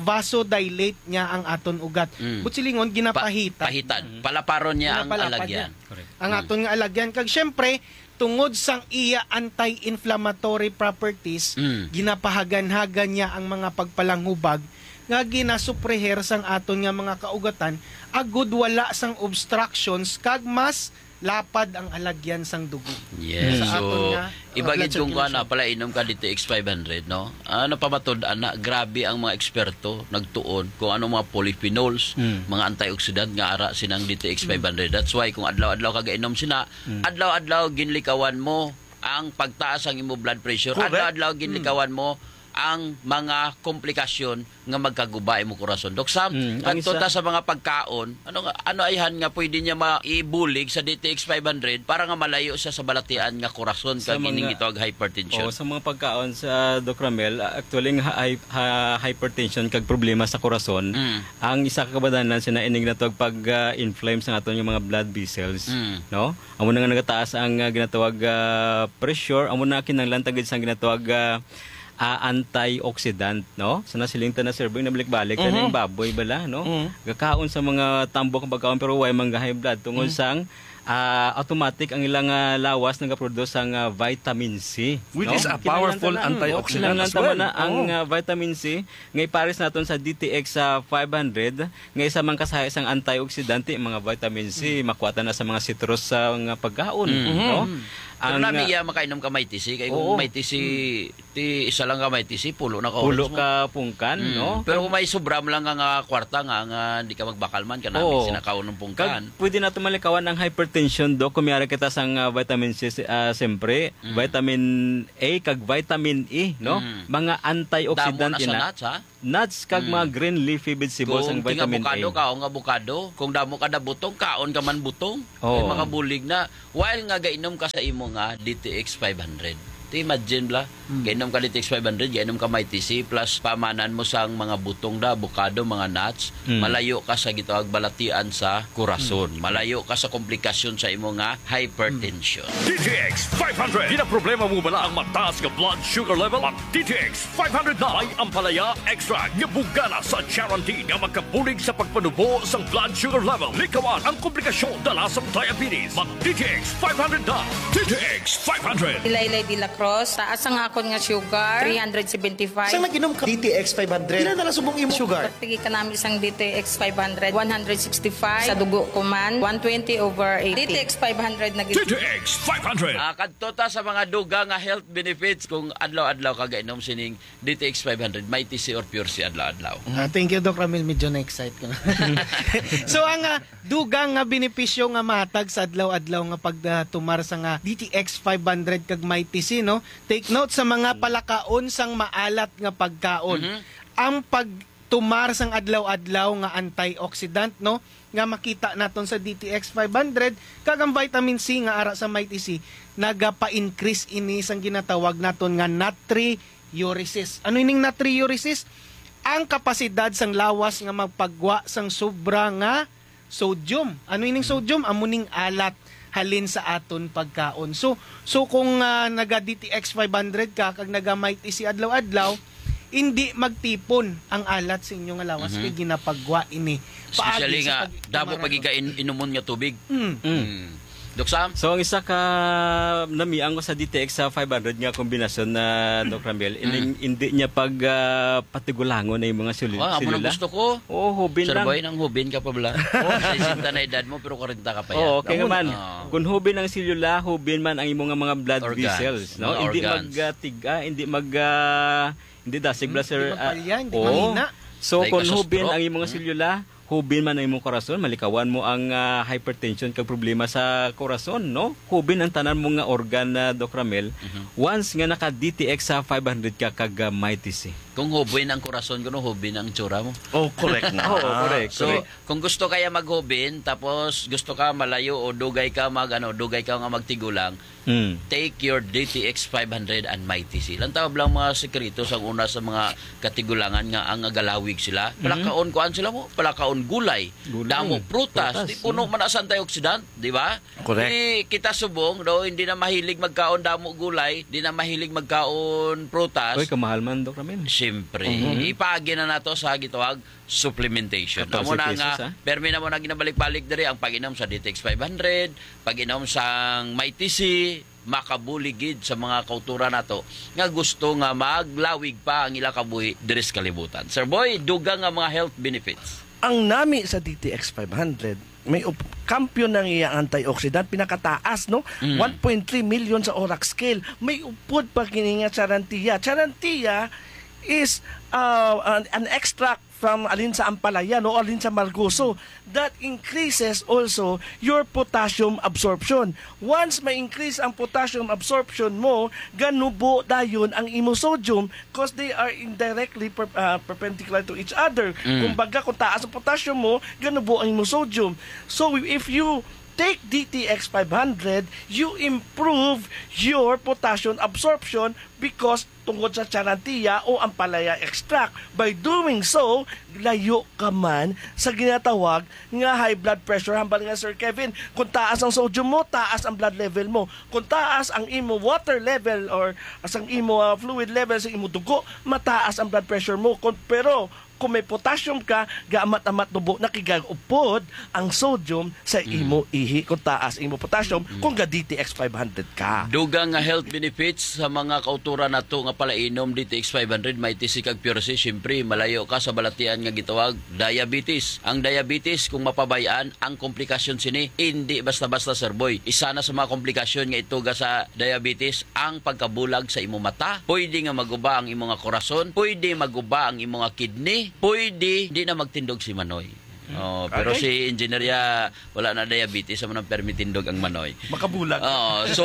gina-vasodilate niya ang aton ugat. Mm. But silingon, Pa-, ginapahitad. pahitad. Mm. Palaparon niya ang Ginapalapad alagyan. niya. Correct. Ang Mm. aton nga alagyan. Kag siyempre, tungod sang iya anti-inflammatory properties, Mm. ginapahagan-hagan niya ang mga pagpalanghubag nga ginasupreher sang aton nga mga kaugatan, agud wala sang obstructions kag mas lapad ang alagyan sang dugo. Yes. Sa So, aton nga, uh, iba blood gid kung kuan na circulation. pala, inom ka D T X five hundred, no? Ah, napamatud-an na, grabe ang mga eksperto nagtuon kung ano mga polyphenols, Mm. mga antioxidant nga ara sinang D T X five hundred. That's why kung adlaw-adlaw ka gainom sina, Mm. adlaw-adlaw ginlikawan mo ang pagtaas ang imo blood pressure. Correct. Adlaw-adlaw Mm. ginlikawan mo ang mga komplikasyon nga magkaguba imo korason. Doc Sam, Mm, ang adto isa ta sa mga pagkaon, ano nga, ano ayhan nga pwede niya maibulig sa D T X five hundred para nga malayo siya sa balatian nga korason Sa kag ining mga gitawag hypertension? Oo, sa mga pagkaon sa Doc Ramel, ah, actually, ang ha-, hy-, ha-, hypertension kag problema sa korason, Mm. ang isa ka kabadanan sina ining ginatawag pag, ah, inflame sa aton nga mga blood vessels, Mm. no? Amo na nga nagataas ang, ah, ginatawag, ah, pressure, amo na kinahanglan ta gid sang ginatawag, ah, ah, antioxidant, no? Sa nasiling ta na, Sir Boy, nabalik-balik Mhm. na yung baboy bala, no? Mhm. Gakaon sa mga tambok ang pagkaon pero way man ga-high blood tungod Mhm. sang ah, automatic ang ilang, ah, lawas nagaproduce sang, ah, vitamin C, Which no? is a Kinahanglan powerful ta na, mm, antioxidant kinahanglan as ta man well. na ang, Oo. ah, vitamin C nga ipares naton sa D T X, ah, five hundred, nga isa man ka sa isang antioxidant, mga vitamin C, Mm. makuha ta na sa mga citrus sa nga pagkaon, Mm. no? Mm. Pero Ang, nami ah, iya makainom ka Mighty C, kay kung Oo. Mighty C, Mm. ti isa lang ka Mighty C, pulo na ka Pulo oras mo. ka pungkan, Mm. no? Pero kung may sobra mo lang nga, nga kwarta nga, nga di ka magbakal man, ka nami Oo. sinakaon ng pungkan. Kag pwede nato malikawan ang hypertension, Doc, kung may ara kita sang, ah, vitamin C, ah, siyempre, Mm. vitamin A kag vitamin E, no? Mm. Mga antioxidant Damo na sa ina. nuts, ha? Nuts kag Mm. mga green leafy vegetables ang Kung vitamin A. Kung abukado, kaon nga abukado. Kung damo ka na butong, kaon ka man butong. Oo. Ay, makabulig na. While nga gainom ka sa imo nga D T X five hundred. Ti imagine bla, Mm. gainom ka D T X five hundred, gainom ka Mighty C, plus pamanan mo sang mga butong da, abukado, mga nuts, Mm. malayo ka sa gitawag balatian sa kurason. Mm. Malayo ka sa komplikasyon sa imo nga hypertension. D T X five hundred. Ginaproblema mo bala ang mataas nga blood sugar level? Mag D T X five hundred na. May ampalaya extract nga bugana sa charantin nga makabulig sa pagpanubo sang blood sugar level. Likawan ang komplikasyon dala sang diabetes. Mag D T X five hundred na. D T X five hundred. Laylay de la Cruz, taas ang akon nga sugar, three hundred seventy-five. Sang nag-inom ka D T X five hundred, pila na lang subong imo sugar? Pagpigi ka namin sang D T X five hundred, one hundred sixty-five. Sa dugo ko man, one twenty over eighty. D T X five hundred na gid. D T X five hundred. Ah, kadto ta sa mga dugang nga health benefits kung adlaw-adlaw ka gainom sining D T X five hundred, Mighty C or Pure C adlaw-adlaw. Ah, thank you, Doc Ramil. Medyo na-excite ko na. So, ang, ah, dugang nga benepisyo nga mahatag sa adlaw-adlaw nga pagtumar sa nga D T X five hundred kag Mighty C, no? Take note sa mga Mm. palakaon sang maalat nga pagkaon. Mhm. Ang pagtumar sang adlaw-adlaw nga antioxidant, no? Nga makita naton sa D T X five hundred, kag ang vitamin C nga ara sa Mighty C, nagapa-increase ini sang ginatawag naton nga natriuresis. Ano ining natriuresis? Ang kapasidad sang lawas nga magpagwa sang sobra nga sodium. Ano ining sodium? Amo ning alat halin sa aton pagkaon. So, so kung, ah, naga D T X five hundred ka kag naga Mighty C adlaw-adlaw, hindi magtipon ang alat sa inyo nga lawas Mhm. kay ginapagwa ini. Especially Paagi sa nga, pag-, damo tumara pag ko. Iga in-, inumon nga tubig. Mm. Mm. Mm. Doc Sam? So, ang isa ka namiang ko sa D T X sa five hundred nga kombinasyon na, Doc Ramil, Mm. ining hindi niya pag, ah, patigulangon na yung mga selu-, Wa, amo nang selula. Gusto ko. Oo, hubin Sir lang. Boy, nang hubin ka pa bala? Oo. Sesenta na edad mo, pero kwarenta ka pa Oo, yan. Okay Amo naman. na. Oo. Kung hubin ang selula, hubin man ang imo nga mga blood Organs. Vessels, no? Mga Hindi organs. magtiga, hindi mag, ah, hindi dasig Hmm, bla, sir, hindi ah, magpalya, hindi oo. mahina. So, Dahil kung kasustro. hubin ang imo nga Hmm. selula, hubin man ang imong korason, malikawan mo ang, ah, hypertension kag problema sa korason, no? Hubin ang tanan mo nga organ, ah, Doc Ramil. Mhm. Once nga naka D T X sa five hundred ka kag, ah, Mighty C. Kung hubin ang korason ko, no, hubin ang tsura mo. Oh, correct na. Oo, correct, So, correct. kung gusto kaya maghubin, tapos gusto ka malayo o dugay ka mag, ano, dugay ka nga magtigulang, Mm. take your D T X five hundred and Mighty C. Lang tawag lang mga sekreto sa una sa mga katigulangan nga ang agalawig sila. Mhm. Palakaon, kuan sila mo, palakaon gulay. Gulay. Damo prutas. Prutas, Di puno mm. man sa antioxidant, di ba? Correct. Di kita subong, do, hindi na mahilig magkaon damo gulay, di na mahilig magkaon prutas. Uy, kamahal man, Doc Ramil. Siyempre. Mhm. Ipaagi na nato sa gitawag supplementation. Katorse Amo na pesos, nga, ah. permi na mo na ginabalik-balik diri ang pag-inom sa D T X five hundred, pag-inom sang Mighty C, makabulig gid sa mga kauturan nato nga gusto nga maglawig pa ang ila kabuhi diri sa kalibutan. Sir Boy, dugang nga mga health benefits. Ang nami sa D T X five hundred, may up-, kampiyon ang iya antioxidant, pinakataas, no? Mm. One point three million sa ORAC scale. May upod pa kini nga charantia. Charantia is, uh, an, an extract from alin sa ampalaya, no, alin sa margoso, that increases also your potassium absorption. Once ma-increase ang potassium absorption mo, ganubo dayon ang imo sodium, 'cause they are indirectly per-, ah, perpendicular to each other. Mm. Kumbaga, kung taas ang potassium mo, ganubo ang imo sodium. So, if you take D T X five hundred, you improve your potassium absorption because tungod sa charantia o ampalaya extract. By doing so, layo ka man sa ginatawag nga high blood pressure. Hambal nga, Sir Kevin, kung taas ang sodium mo, taas ang blood level mo. Kung taas ang imo water level or as ang imo, ah, fluid level sa imo dugo, mataas ang blood pressure mo. Kung, pero kung may potassium ka, gaamat-amat tubo na kay gaupod ang sodium sa imo ihi kung taas imo potassium, kung ga D T X five hundred ka. Dugang nga health benefits sa mga kauturan nato nga palainom D T X five hundred, may T C kag Pure C, siyempre, malayo ka sa balatian nga gitawag diabetes. Ang diabetes, kung mapabay-an, ang komplikasyon sini, hindi basta-basta, Sir Boy. Isa na sa mga komplikasyon nga ituga sa diabetes, ang pagkabulag sa imo mata. Pwede nga maguba ang imo nga korason, pwede maguba ang imo nga kidney, pwede di na magtindog si Manoy. Oh, pero Okay. si Engineer Ya, wala na diabetes, amo nang permi tindog ang Manoy. Makabulag. Oh, so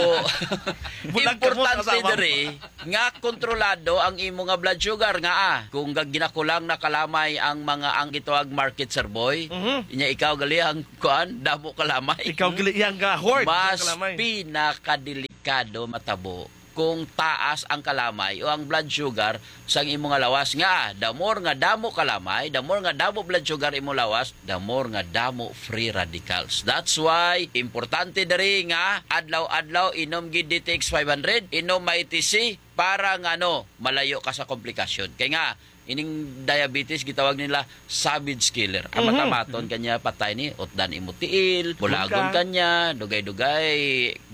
Bulag ka mo sa importante asawa mo. diri nga kontrolado ang imo nga blood sugar nga, ah, kung ga-, ginakulang na kalamay ang mga, ang gitawag market, Sir Boy, Mhm. inya ikaw gali ang kuan, damo kalamay. Ikaw gali yang ga-hoard Mas ang kalamay. pinakadelikado matabo kung taas ang kalamay o ang blood sugar sang imo nga lawas nga, the more nga damo kalamay, the more nga damo blood sugar imo lawas, the more nga damo free radicals. That's why importante diri nga adlaw-adlaw inom gid D T X five hundred, inom may T C para nga ano, malayo ka sa komplikasyon. Kay nga ining diabetes gitawag nila savage killer. Mhm. Amat-amaton kanya patay ni, utdan imo tiil, bulagon Bulagon ka. kanya, dugay-dugay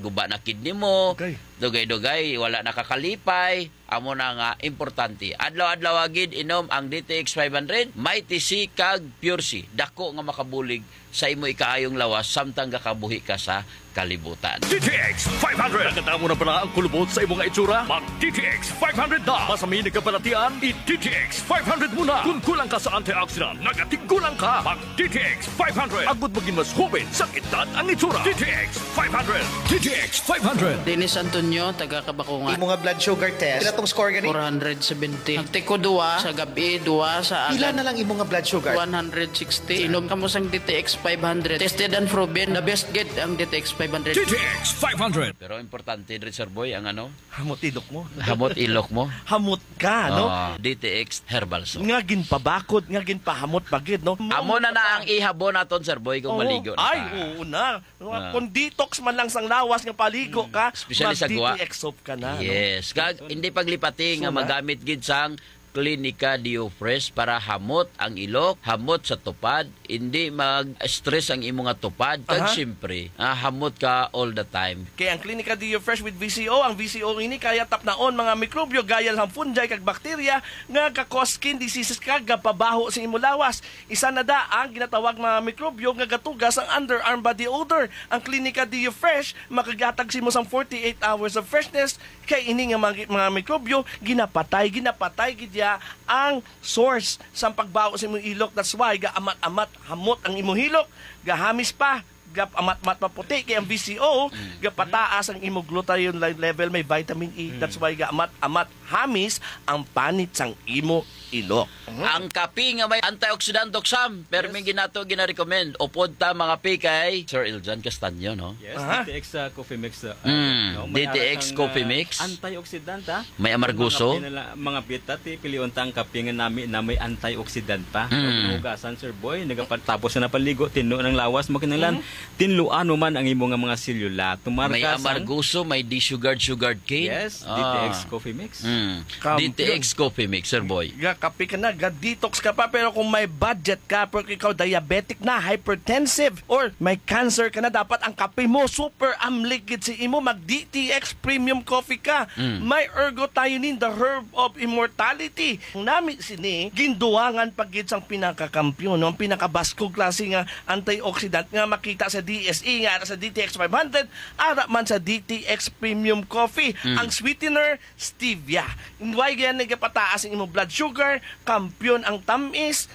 guba na kidney mo, Okay. dugay-dugay wala nakakalipay. Amo na nga importante. Adlaw-adlaw gid inom ang D T X five hundred, may T C kag Pure C. Dako nga makabulig sa imo ikaayong lawas samtang gakabuhi ka sa kalibutan. D T X five hundred. Nakadamo na bala ang kulubot sa imo nga itsura? Mag D T X five hundred na. Masami nagkabalatian, i-D T X five hundred mo na. Kung kulang ka sa antioxidant, nagatigulang ka. Mag D T X five hundred. Agud maging mas hoben sa edad ang itsura. D T X five hundred. D T X five hundred. Dennis Antonio, taga Kabakungan. Imo nga blood sugar test, pila tong score gani? Four hundred seventy. Nagtiko duwa sa gabi, duwa sa Pila agad. na lang imo nga blood sugar? One hundred sixty. Inom kamo sang D T X five hundred. Tested and proven. The best gid ang D T X five hundred. D T X five hundred. Pero importante diri, Sir Boy, ang ano? Hamot ilok mo. Hamot ilok mo. Hamot ka, no? Ah, D T X Herbal Soap. Nga ginpabakod, nga ginpahamot pa gid, no? Amo na na ang ihabon naton, Sir Boy, kung Oo. maligo na Ay, ka. oo na. Ah. Kung detox man lang sang lawas nga paligo Mm. ka, Especially sa guwa. mag-D T X soap ka na, no? Yes. Kag, hindi paglipati nga So na? magamit gid sang Clinica Deo Fresh para hamot ang ilok, hamot sa tupad, hindi mag-stress ang imo nga tupad, kag Aha. siyempre, ah, hamot ka all the time. Kay ang Clinica Deo Fresh with V C O, ang V C O ini kaya tapnaon mga mikrobyo gaya sang fungi kag bakterya nga ka-cause skin diseases kag gapabaho sa imo lawas. Isa na da ang ginatawag mga mikrobyo nga gatuga sang underarm body odor. Ang Clinica Deo Fresh makagatag sa imo sang forty-eight hours of freshness. Kay ini nga mga, mga mikrobyo, ginapatay, ginapatay gid ya ang source sang pagbaho sa imong ilok. That's why gaamat-amat hamot ang imong hilok, gahamis pa, gaamat-amat maputi kay ang V C O, Mm. gapataas ang imong glutathione le-, level, may vitamin E. Mm. That's why gaamat-amat hamis ang panit sang imo ilok. Mhm. Ang kape nga may antioxidant, Doc Sam, permi Yes. ginato gina-recommend. Upod ta mga pi kay Sir Eljan Castaño, no? Yes, Aha. D T X, uh, Coffee Mix, uh, Mm, no? May D T X ara sang, Coffee uh, Mix. antioxidant, ha? May amarguso. Mga pinala-, mga bitati, pilion ta ang kape nga nami na may antioxidant pa. Mm. Kung hinugasan, Sir Boy, nagapatapos na paligo, tinlo ng lawas mo, kinahanglan, Mm. tinluan mo man ang imo nga mga selula. Tumar May ka sang amarguso, may D-Sugard, Sugard Cane. Yes, Ah. D T X Coffee Mix. Mm. Kam-, D T X Coffee Mix, Sir Boy. Ga kape ka na, ga detox ka pa, pero kung may budget ka, pero ikaw diabetic na, hypertensive, or may cancer ka na, dapat ang kape mo super amlik gid si imo, mag D T X premium coffee ka. Mm. May ergothioneine, the herb of immortality. Ang nami sini, ginduwangan pa gid sang pinakakampiyon, no? Ang pinakabaskog klase nga antioxidant nga makita sa D S E, nga ara sa D T X five hundred, ara man sa D T X premium coffee. Mm. Ang sweetener, stevia. Why gani nagapataas ang imong blood sugar? Kampiyon ang tamis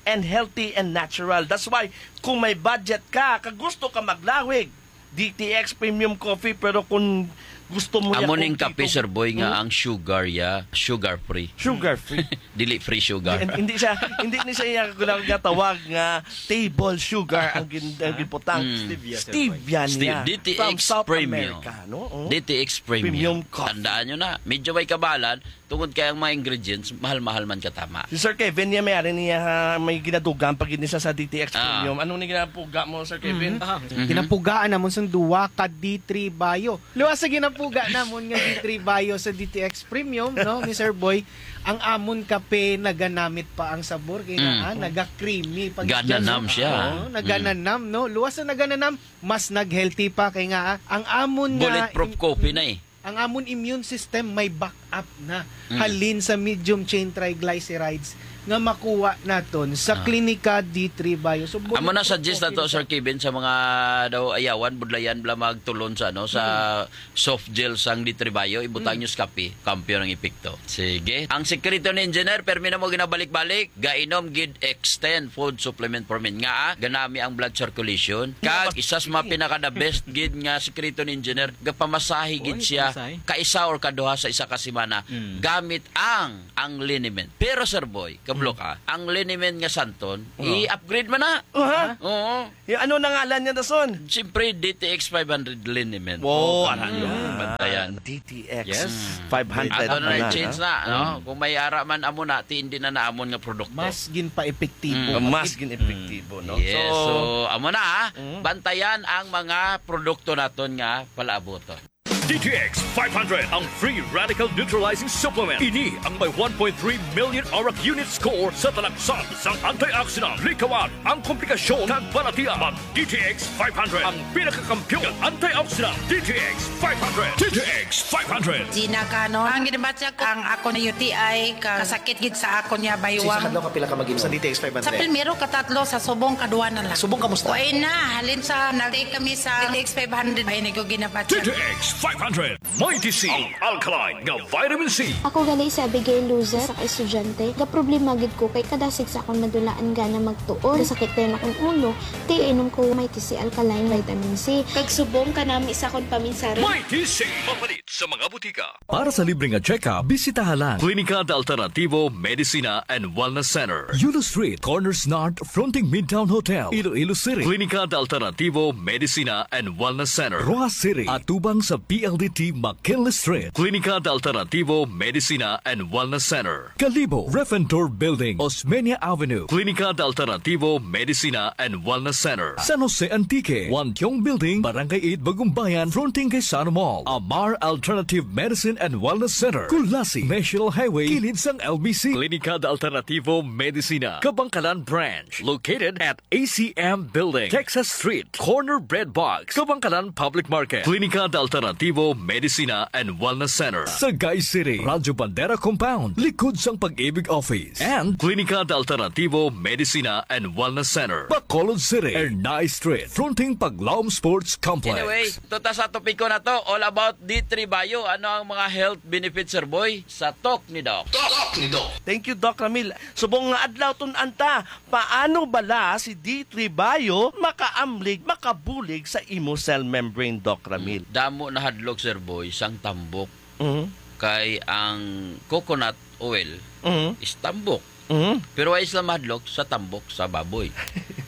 and healthy and natural. That's why, kung may budget ka, kag gusto ka maglawig, D T X Premium Coffee, pero kung Gusto mo niya Amo ning kompleto. kape, Sir Boy, nga Hmm? ang sugar ya, sugar free. Sugar free. Dili free sugar. Hindi, hindi siya, hindi ni siya iya ginatawag nga table sugar ang gin-, ang Ah? giputang. Mm. Stevia, Sir Boy. Stevia Steve, niya. D T X From South Premium. America, no? Oh. D T X Premium. Premium coffee. Tandaan nyo na, medyo may kabalan, tungod kay ang mga ingredients, mahal-mahal man katama. Si Sir Kevin niya, may ari niya, ha, may ginadugang pag ini sa, sa D T X Ah. Premium. Anong ni ginapuga mo, Sir Kevin? Mhm. Ah. Mhm. Ginapugaan namon sang duwa ka D three Bio. Luwas sa ginapuga namon nga D three Bio sa D T X Premium, no, ni Sir Boy, ang amon kape naganamit pa ang sabor, kay Mm. naa, naga-creamy pa gid siya, no? Gananam siya. Oo, Mm. nagananam, no? Luwas sa nagananam, mas nag-healthy pa, kay nga, ah, ang amon nga Bulletproof im-, coffee na eh. ang amon immune system may backup na Mm. halin sa medium chain triglycerides nga makuha naton sa Ah. Klinika D three Bio. So, Amo na bulletproof suggest na coffee to, na Sir siya. Kevin, sa mga daw ayawan, budlayan bala magtulon sa, ano, sa Mm. soft gel sang D three Bio, ibutang Mm. nyo sa kape, kampiyon ang epekto. Sige. Ang sikreto ni Engineer, permi na mo ginabalik-balik, gainom gid Extend Food Supplement for Men. Nga, ah, ganami ang blood circulation. Kag isa sa mga pinaka the best gid nga sikreto ni Engineer, gapamasahe gid Oy, siya pamasahe. kaisa or kaduha sa isa ka semana Mm. gamit ang, ang liniment. Pero, Sir Boy, kablo Mm. ka, ang liniment nga Santon, Oo. i-upgrade man na. Aha. Oo. Yung ano na ngalan niya, Dason? Siyempre, D T X five hundred liniment. Wow, Oh, ano ano yun? yun? Bantayan. D T X Yes. five hundred Ato na na, na change ha? na, no? Mm. Kung may ara man amo na, ti hindi na naamon nga produkto. Mas ginpa-epektibo. Mm. Mas gin-epektibo, no? Yes, So, so, amo na, ha? Mm. Bantayan ang mga produkto naton nga palaabuton. D T X five hundred, ang free radical neutralizing supplement. Ini ang may one point three million ORAC unit score sa talaksan sang antioxidant. Likawan ang komplikasyon kag balatian. Mag D T X five hundred, ang pinakakampiyon nga antioxidant. D T X five hundred. D T X five hundred. Gina Canon. Ang ginabatya ko, ang ako na U T I, ka-, kasakit gid sa ako niya, Sa baywang. Sa adlaw ka pila ka mag-inom sa D T X five hundred? Sa primero, katatlo, sa subong, kadwa na lang. Subong, kamusta? Way na, halin sa nag-take kami sa D T X five hundred, ay, naguginabatya. D T X five hundred. Mighty C, ang alkaline nga vitamin C. Ako gali si Abigail Luzet, sa ka estudyante. Gaproblema gid ko kay kada six akong madulaan gana magtuon. Kasakit dayon akong ulo, ti inom ko Mighty C Alkaline Vitamin C. Kag subong kanami sa akong paminsaron. Mighty C, mapalit sa mga butika. Para sa libre nga check-up, bisitaha lang Klinika de Alternativo Medicina and Wellness Center, Yulo Street, Corners North, fronting Midtown Hotel, Iloilo City. Klinika de Alternativo Medicina and Wellness Center, Roxas City, atubang sa P L D T McKinley Street. Klinika de Alternativo Medicina and Wellness Center, Kalibo, Ref and Tour Building, Osmeña Avenue. Klinika de Alternativo Medicina and Wellness Center, San Jose Antique, Wantiong Building, Barangay eight, Bagumbayan, fronting kay Sano Mall. Amar Alternative Medicine and Wellness Center, Culasi, National Highway, kilid sang L B C. Klinika de Alternativo Medicina, Kabankalan Branch, located at A C M Building, Texas Street, corner Bread Box, Kabankalan Public Market. Klinika de Alternativo Medicina and Wellness Center, Sagay City, Radyo Bandera Compound, likod sang Pag-ibig Office. And Klinika de Alternativo Medicina and Wellness Center, Bacolod City, Ernai Street, fronting Paglaom Sports Complex. Anyway, tuta sa topiko na to, all about D three Bio. Ano ang mga health benefits, Sir Boy, sa Talk ni Doc? Talk ni Doc. Thank you, Doc Ramil. Subong nga adlaw, tun-an ta, paano bala si D three Bio makaamlig, makabulig sa imo cell membrane, Doc Ramil? Damo na hadlok, Sir Boy, sang tambok. Mhm. Kay ang coconut oil Mhm. is tambok. Mhm. Pero wala sila mahadlok sa tambok sa baboy.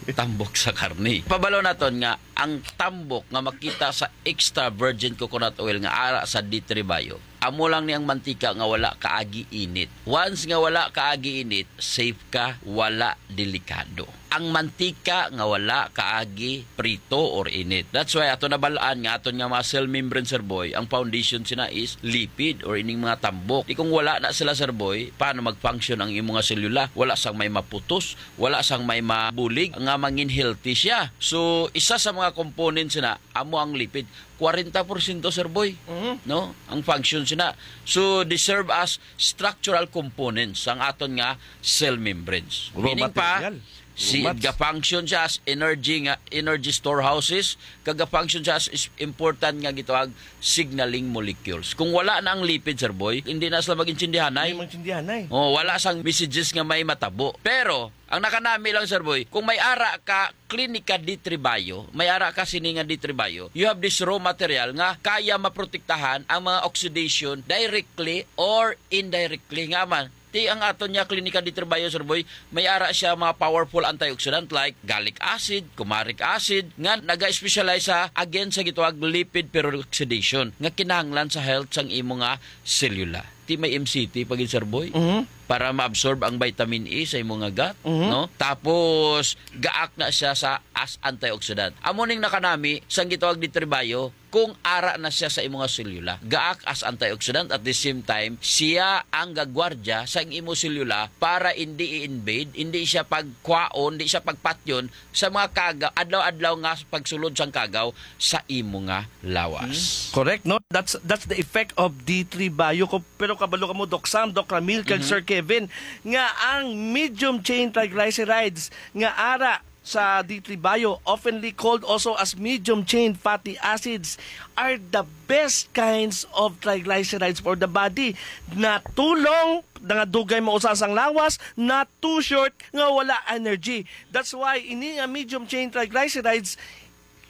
Tambok sa karne. Pabalo naton nga ang tambok nga makita sa extra virgin coconut oil nga ara sa D three Bio, amo lang ni ang mantika nga wala kaagi init. Once nga wala kaagi init, safe ka, wala delikado. Ang mantika nga wala kaagi prito or init. That's why ato nabalaan nga aton nga mga cell membrane, Sir Boy, ang foundation sina is lipid or ining mga tambok. Di kung wala na sila, Sir Boy, paano mag-function ang imong mga selula? Wala sang may maputos, wala sang may mabulig nga mangin healthy siya. So, isa sa mga components na amo ang lipid. Kwarenta porsyento, Sir Boy, Mhm. no? Ang function sina. So, they serve as structural components ang aton nga cell membranes. Raw Meaning pa, material. Si, much. Ga-function siya as energy nga, energy storehouses, kag ga-function siya as is-, important nga gitawag signaling molecules. Kung wala na ang lipid, Sir Boy, hindi na sila mag-intindihanay. Hindi mag-intindihanay. Oh, wala sang messages nga may matabo. Pero, ang nakanami lang, Sir Boy, kung may ara ka klinika D three Bio, may ara ka sini nga D three Bio, you have this raw material nga kaya maprotektahan ang mga oxidation directly or indirectly. Nga man, ti ang aton niya klinika D three Bio, Sir Boy, may ara siya mga powerful antioxidant like gallic acid, comaric acid, nga naga-specialize sa against sa gitawag lipid peroxidation nga kinahanglan sa health sang imo nga selula. Ti may M C T pa gid, Sir Boy, Mhm. para ma-absorb ang vitamin E sa imo nga gut, Mhm. no? Tapos gaak na siya sa as antioxidant. Amo ning nakanami sang gitawag D three Bio kung ara na siya sa imo nga selula. Gaak as antioxidant, at the same time, siya ang gagwardya sa imo selula para hindi i-invade, hindi siya pagkwaon, hindi siya pagpatyon sa mga kagaw, adlaw-adlaw nga pagsulod sang kagaw sa imo nga lawas. Hmm. Correct, no? That's that's the effect of D three Bio. Ko, pero kabalo ka mo, Doc Sam, Doc Ramil, kag Mhm. Sir Kevin, nga ang medium chain triglycerides nga ara sa D three Bio, oftenly called also as medium chain fatty acids, are the best kinds of triglycerides for the body. Na too long, nga dugay mausa sang lawas, na too short, nga wala energy. That's why ini nga medium chain triglycerides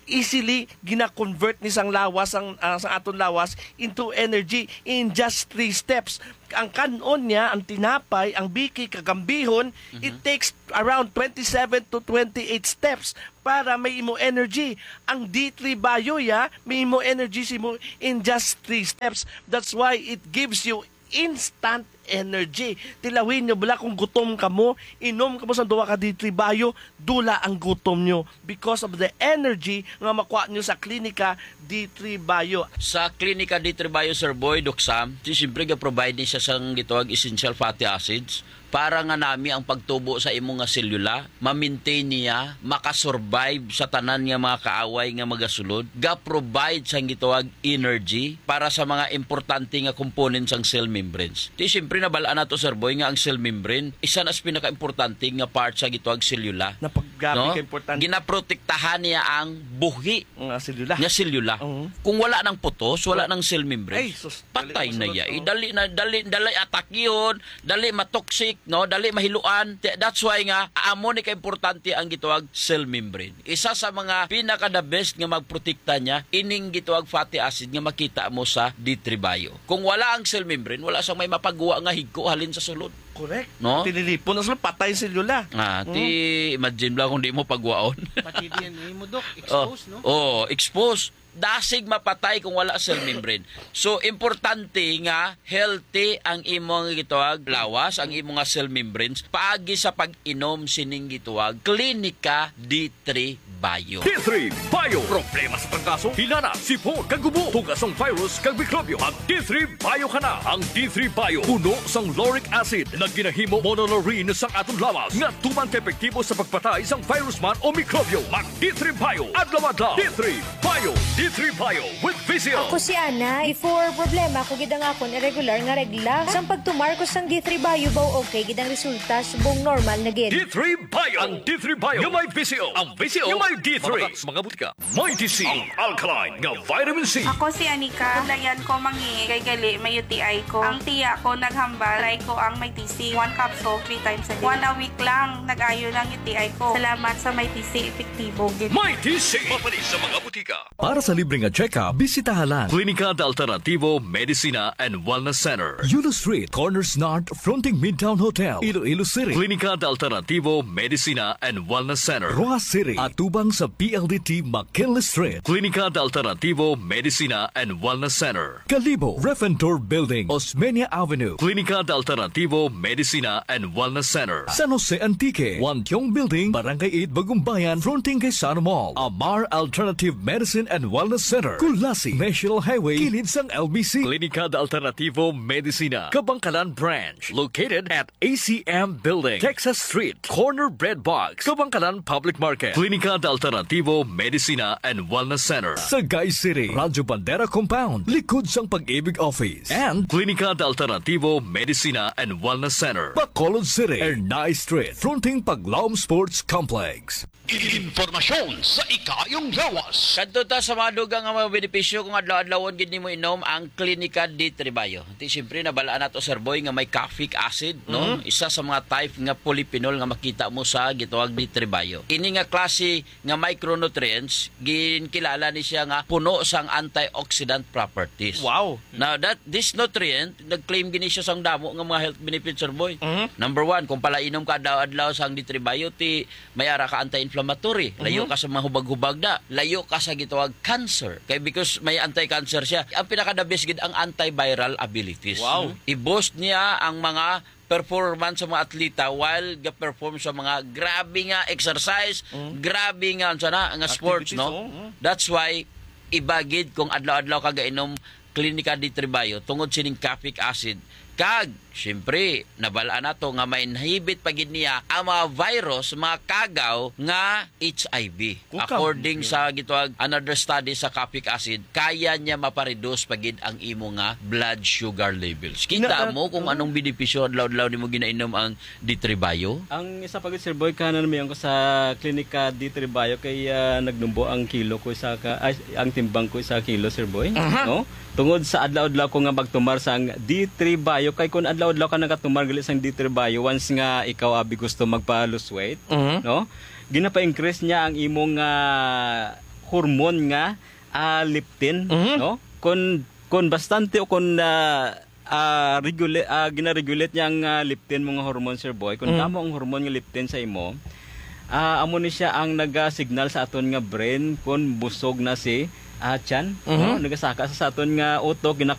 easily gina-convert ni sang lawas, ang, ah, sang aton lawas into energy in just three steps. Ang kan-on niya, ang tinapay, ang biki, kag ang bihon, it Mhm. takes around twenty-seven to twenty-eight steps para may imo energy. Ang D three Bio, ya, may imo energy simo in just three steps. That's why it gives you instant energy. Tilawin nyo bala kung gutom kamo, inom kamo sa duha ka D three Bio, dula ang gutom nyo because of the energy nga makuha nyo sa Klinika D three Bio. Sa Klinika D three Bio, Sir Boy, Doc Sam, si siyempre ga-provide ni siya sang gitawag essential fatty acids para nga nami ang pagtubo sa imo nga selula, ma-maintain niya, makasurvive sa tanan nga mga kaaway nga magasulod, ga-provide sang gitawag energy para sa mga importante nga components sang cell membranes. Di siyempre, nabal-an nato, Sir Boy, nga ang cell membrane isa na sa pinakaimportante nga part sa gitawag selula. Na pag-, grabe No? ka importante. Ginaprotektahan niya ang buhi Nga selula. nga selula. Oo. Kung wala nang putos, wala Wa-, nang cell membrane, Ay, sus, dali patay na masunod, iya. oh. Eh, dali na, dali, dali atakihon, dali matoxic, no? Dali mahiluan. Te-, that's why nga, amo ni kaimportante ang gitawag cell membrane. Isa sa mga pinaka the best nga magprotekta niya, ining gitawag fatty acid nga makita mo sa D three Bio. Kung wala ang cell membrane, wala sang may mapagwa nga higko halin sa sulod. Correct. No? Tinilipon na sila, patay ang selula. Ah, Mm. ti, imagine lang kung di mo pagwaon. Pati D N A mo, Doc, Oh, exposed, no? Oh, exposed. Dasig mapatay kung wala cell membrane. So, importante nga healthy ang imo nga gitawag lawas, ang imo nga cell membranes, paagi sa pag-inom sining gitawag Klinika D three Bio. D three Bio. Problema sa trangkaso, hilanat, sipon, kag ubo, tugas sang virus kag mikrobyo. Mag D three Bio ka na. Ang D three Bio puno sang lauric acid nga ginahimo monolaurin sang aton lawas nga tuman ka epektibo sa pagpatay sang virus man o mikrobyo. Mag D three Bio. Adlaw-adlaw. D three Bio. D three Bio with V C O. Ako si Ana. Before, problema ko gid ang akon irregular nga regla. Sang pagtumar ko sang D three Bio, baw okay gid ang resulta, subong normal na gid. D three Bio. Ang D three Bio nga may V C O. Ang V C O nga may D three. Mapatak sa mga butika. Mighty C, ang alkaline nga vitamin C. Ako si Anika. Kablayan ko mangihi kay gali may U T I ko. Ang tiya ko naghambal, try ko ang Mighty C. One capsule, three times a day. One a week lang, nag-ayo na ang U T I ko. Salamat sa Mighty C, epektibo gid. Mighty C, mapalit sa mga butika. Para sa libre nga check-up, bisitaha lang Klinika de Alternativo Medicina and Wellness Center, Yulo Street, Corners North, fronting Midtown Hotel, Iloilo City. Klinika de Alternativo Medicina and Wellness Center, Roxas City, atubang sa P L D T McKinley Street. Klinika de Alternativo Medicina and Wellness Center, Kalibo, Refentor Building, Osmeña Avenue. Klinika de Alternativo Medicina and Wellness Center, San Jose Antique, Wantiong Building, Barangay eight, Bagumbayan, fronting kay Sano Mall. Amar Alternative Medicine and Wellness Center, Culasi, National Highway, kilid sang L B C. Klinika de Alternativo Medicina, Kabangkalan Branch, located at A C M Building, Texas Street, corner Bread Box, Kabangkalan Public Market. Klinika de Alternativo Medicina and Wellness Center, Sagay City, Radyo Bandera Compound, likod sang Pag-ibig Office. And Klinika de Alternativo Medicina and Wellness Center, Bacolod City, Ernai Street, fronting Paglaom Sports Complex. Impormasyon sa ikaayong lawas. Kadto ta sa mga dugang nga mga benepisyo kung adlaw-adlawon gid nimo inom ang Klinika de Tribayo. Ti siyempre, nabalaan nato, Sir Boy, nga may caffeic acid, no? Mhm. Isa sa mga type nga polyphenol nga makita mo sa gitawag de Tribayo. Ini nga klase nga micronutrients, ginkilala ni siya nga puno sang antioxidant properties. Wow. Now, that, this nutrient, nag-claim gini siya sang damo nga mga health benefits, Sir Boy. Mhm. Number one, kung palainom ka adlaw-adlaw sang de Tribayo, ti may ara ka anti-inflammatory. Layo Mhm. ka sa mga hubag-hubag na. Layo ka sa gitawag cancer. Kay because may anti-cancer siya. Ang pinaka-the best gid ang antiviral abilities. Wow. I-boost niya ang mga performance sa mga atleta while ga-perform sa mga grabe nga exercise, Mm. grabe nga, unsa na, nga sports, Activities, no? Oo, mm. That's why, iba gid kung adlaw-adlaw ka gainom Klinika de Tribayo tungod sining caffeic acid. Kag, siyempre, nabalaan nato nga ma-inhibit pa gid niya ang mga virus, mga kagaw nga H I V. Kukam. According Okay. sa gitawag another study sa caffeic acid, kaya niya mapareduce pa gid ang imo nga blood sugar levels. Kita Na-, mo kung oo. anong benepisyo adlaw-adlaw nimo ginainom ang de Tribayo? Ang isa pa gid, Sir Boy, kanan mi ko sa Klinika de Tribayo kay, ah, nagnumbo ang kilo ko sa ka, ay, ang timbang ko sa kilo, Sir Boy, Aha. no? Tungod sa adlaw-adlaw ko nga magtumar sang de Tribayo, kay kun adlaw-adlaw ka nagatumar gali sang de Tribayo, once nga ikaw abi gusto magpa-lose weight, Mhm. no? Ginapa-increase niya ang imong, ah, hormone nga, ah, leptin, Mhm. no? Kun, kun bastante o kun, ah, ah, regula-, ah, gina-regulate niya ang, ah, leptin mo nga hormone, Sir Boy. Kun Mhm. damo ang hormone nga leptin sa imo, ah, amo ni siya ang naga-signal sa aton nga brain kun busog na si, ah, tiyan, Mhm. no? Nagasaka sa, sa aton nga utok, gina-,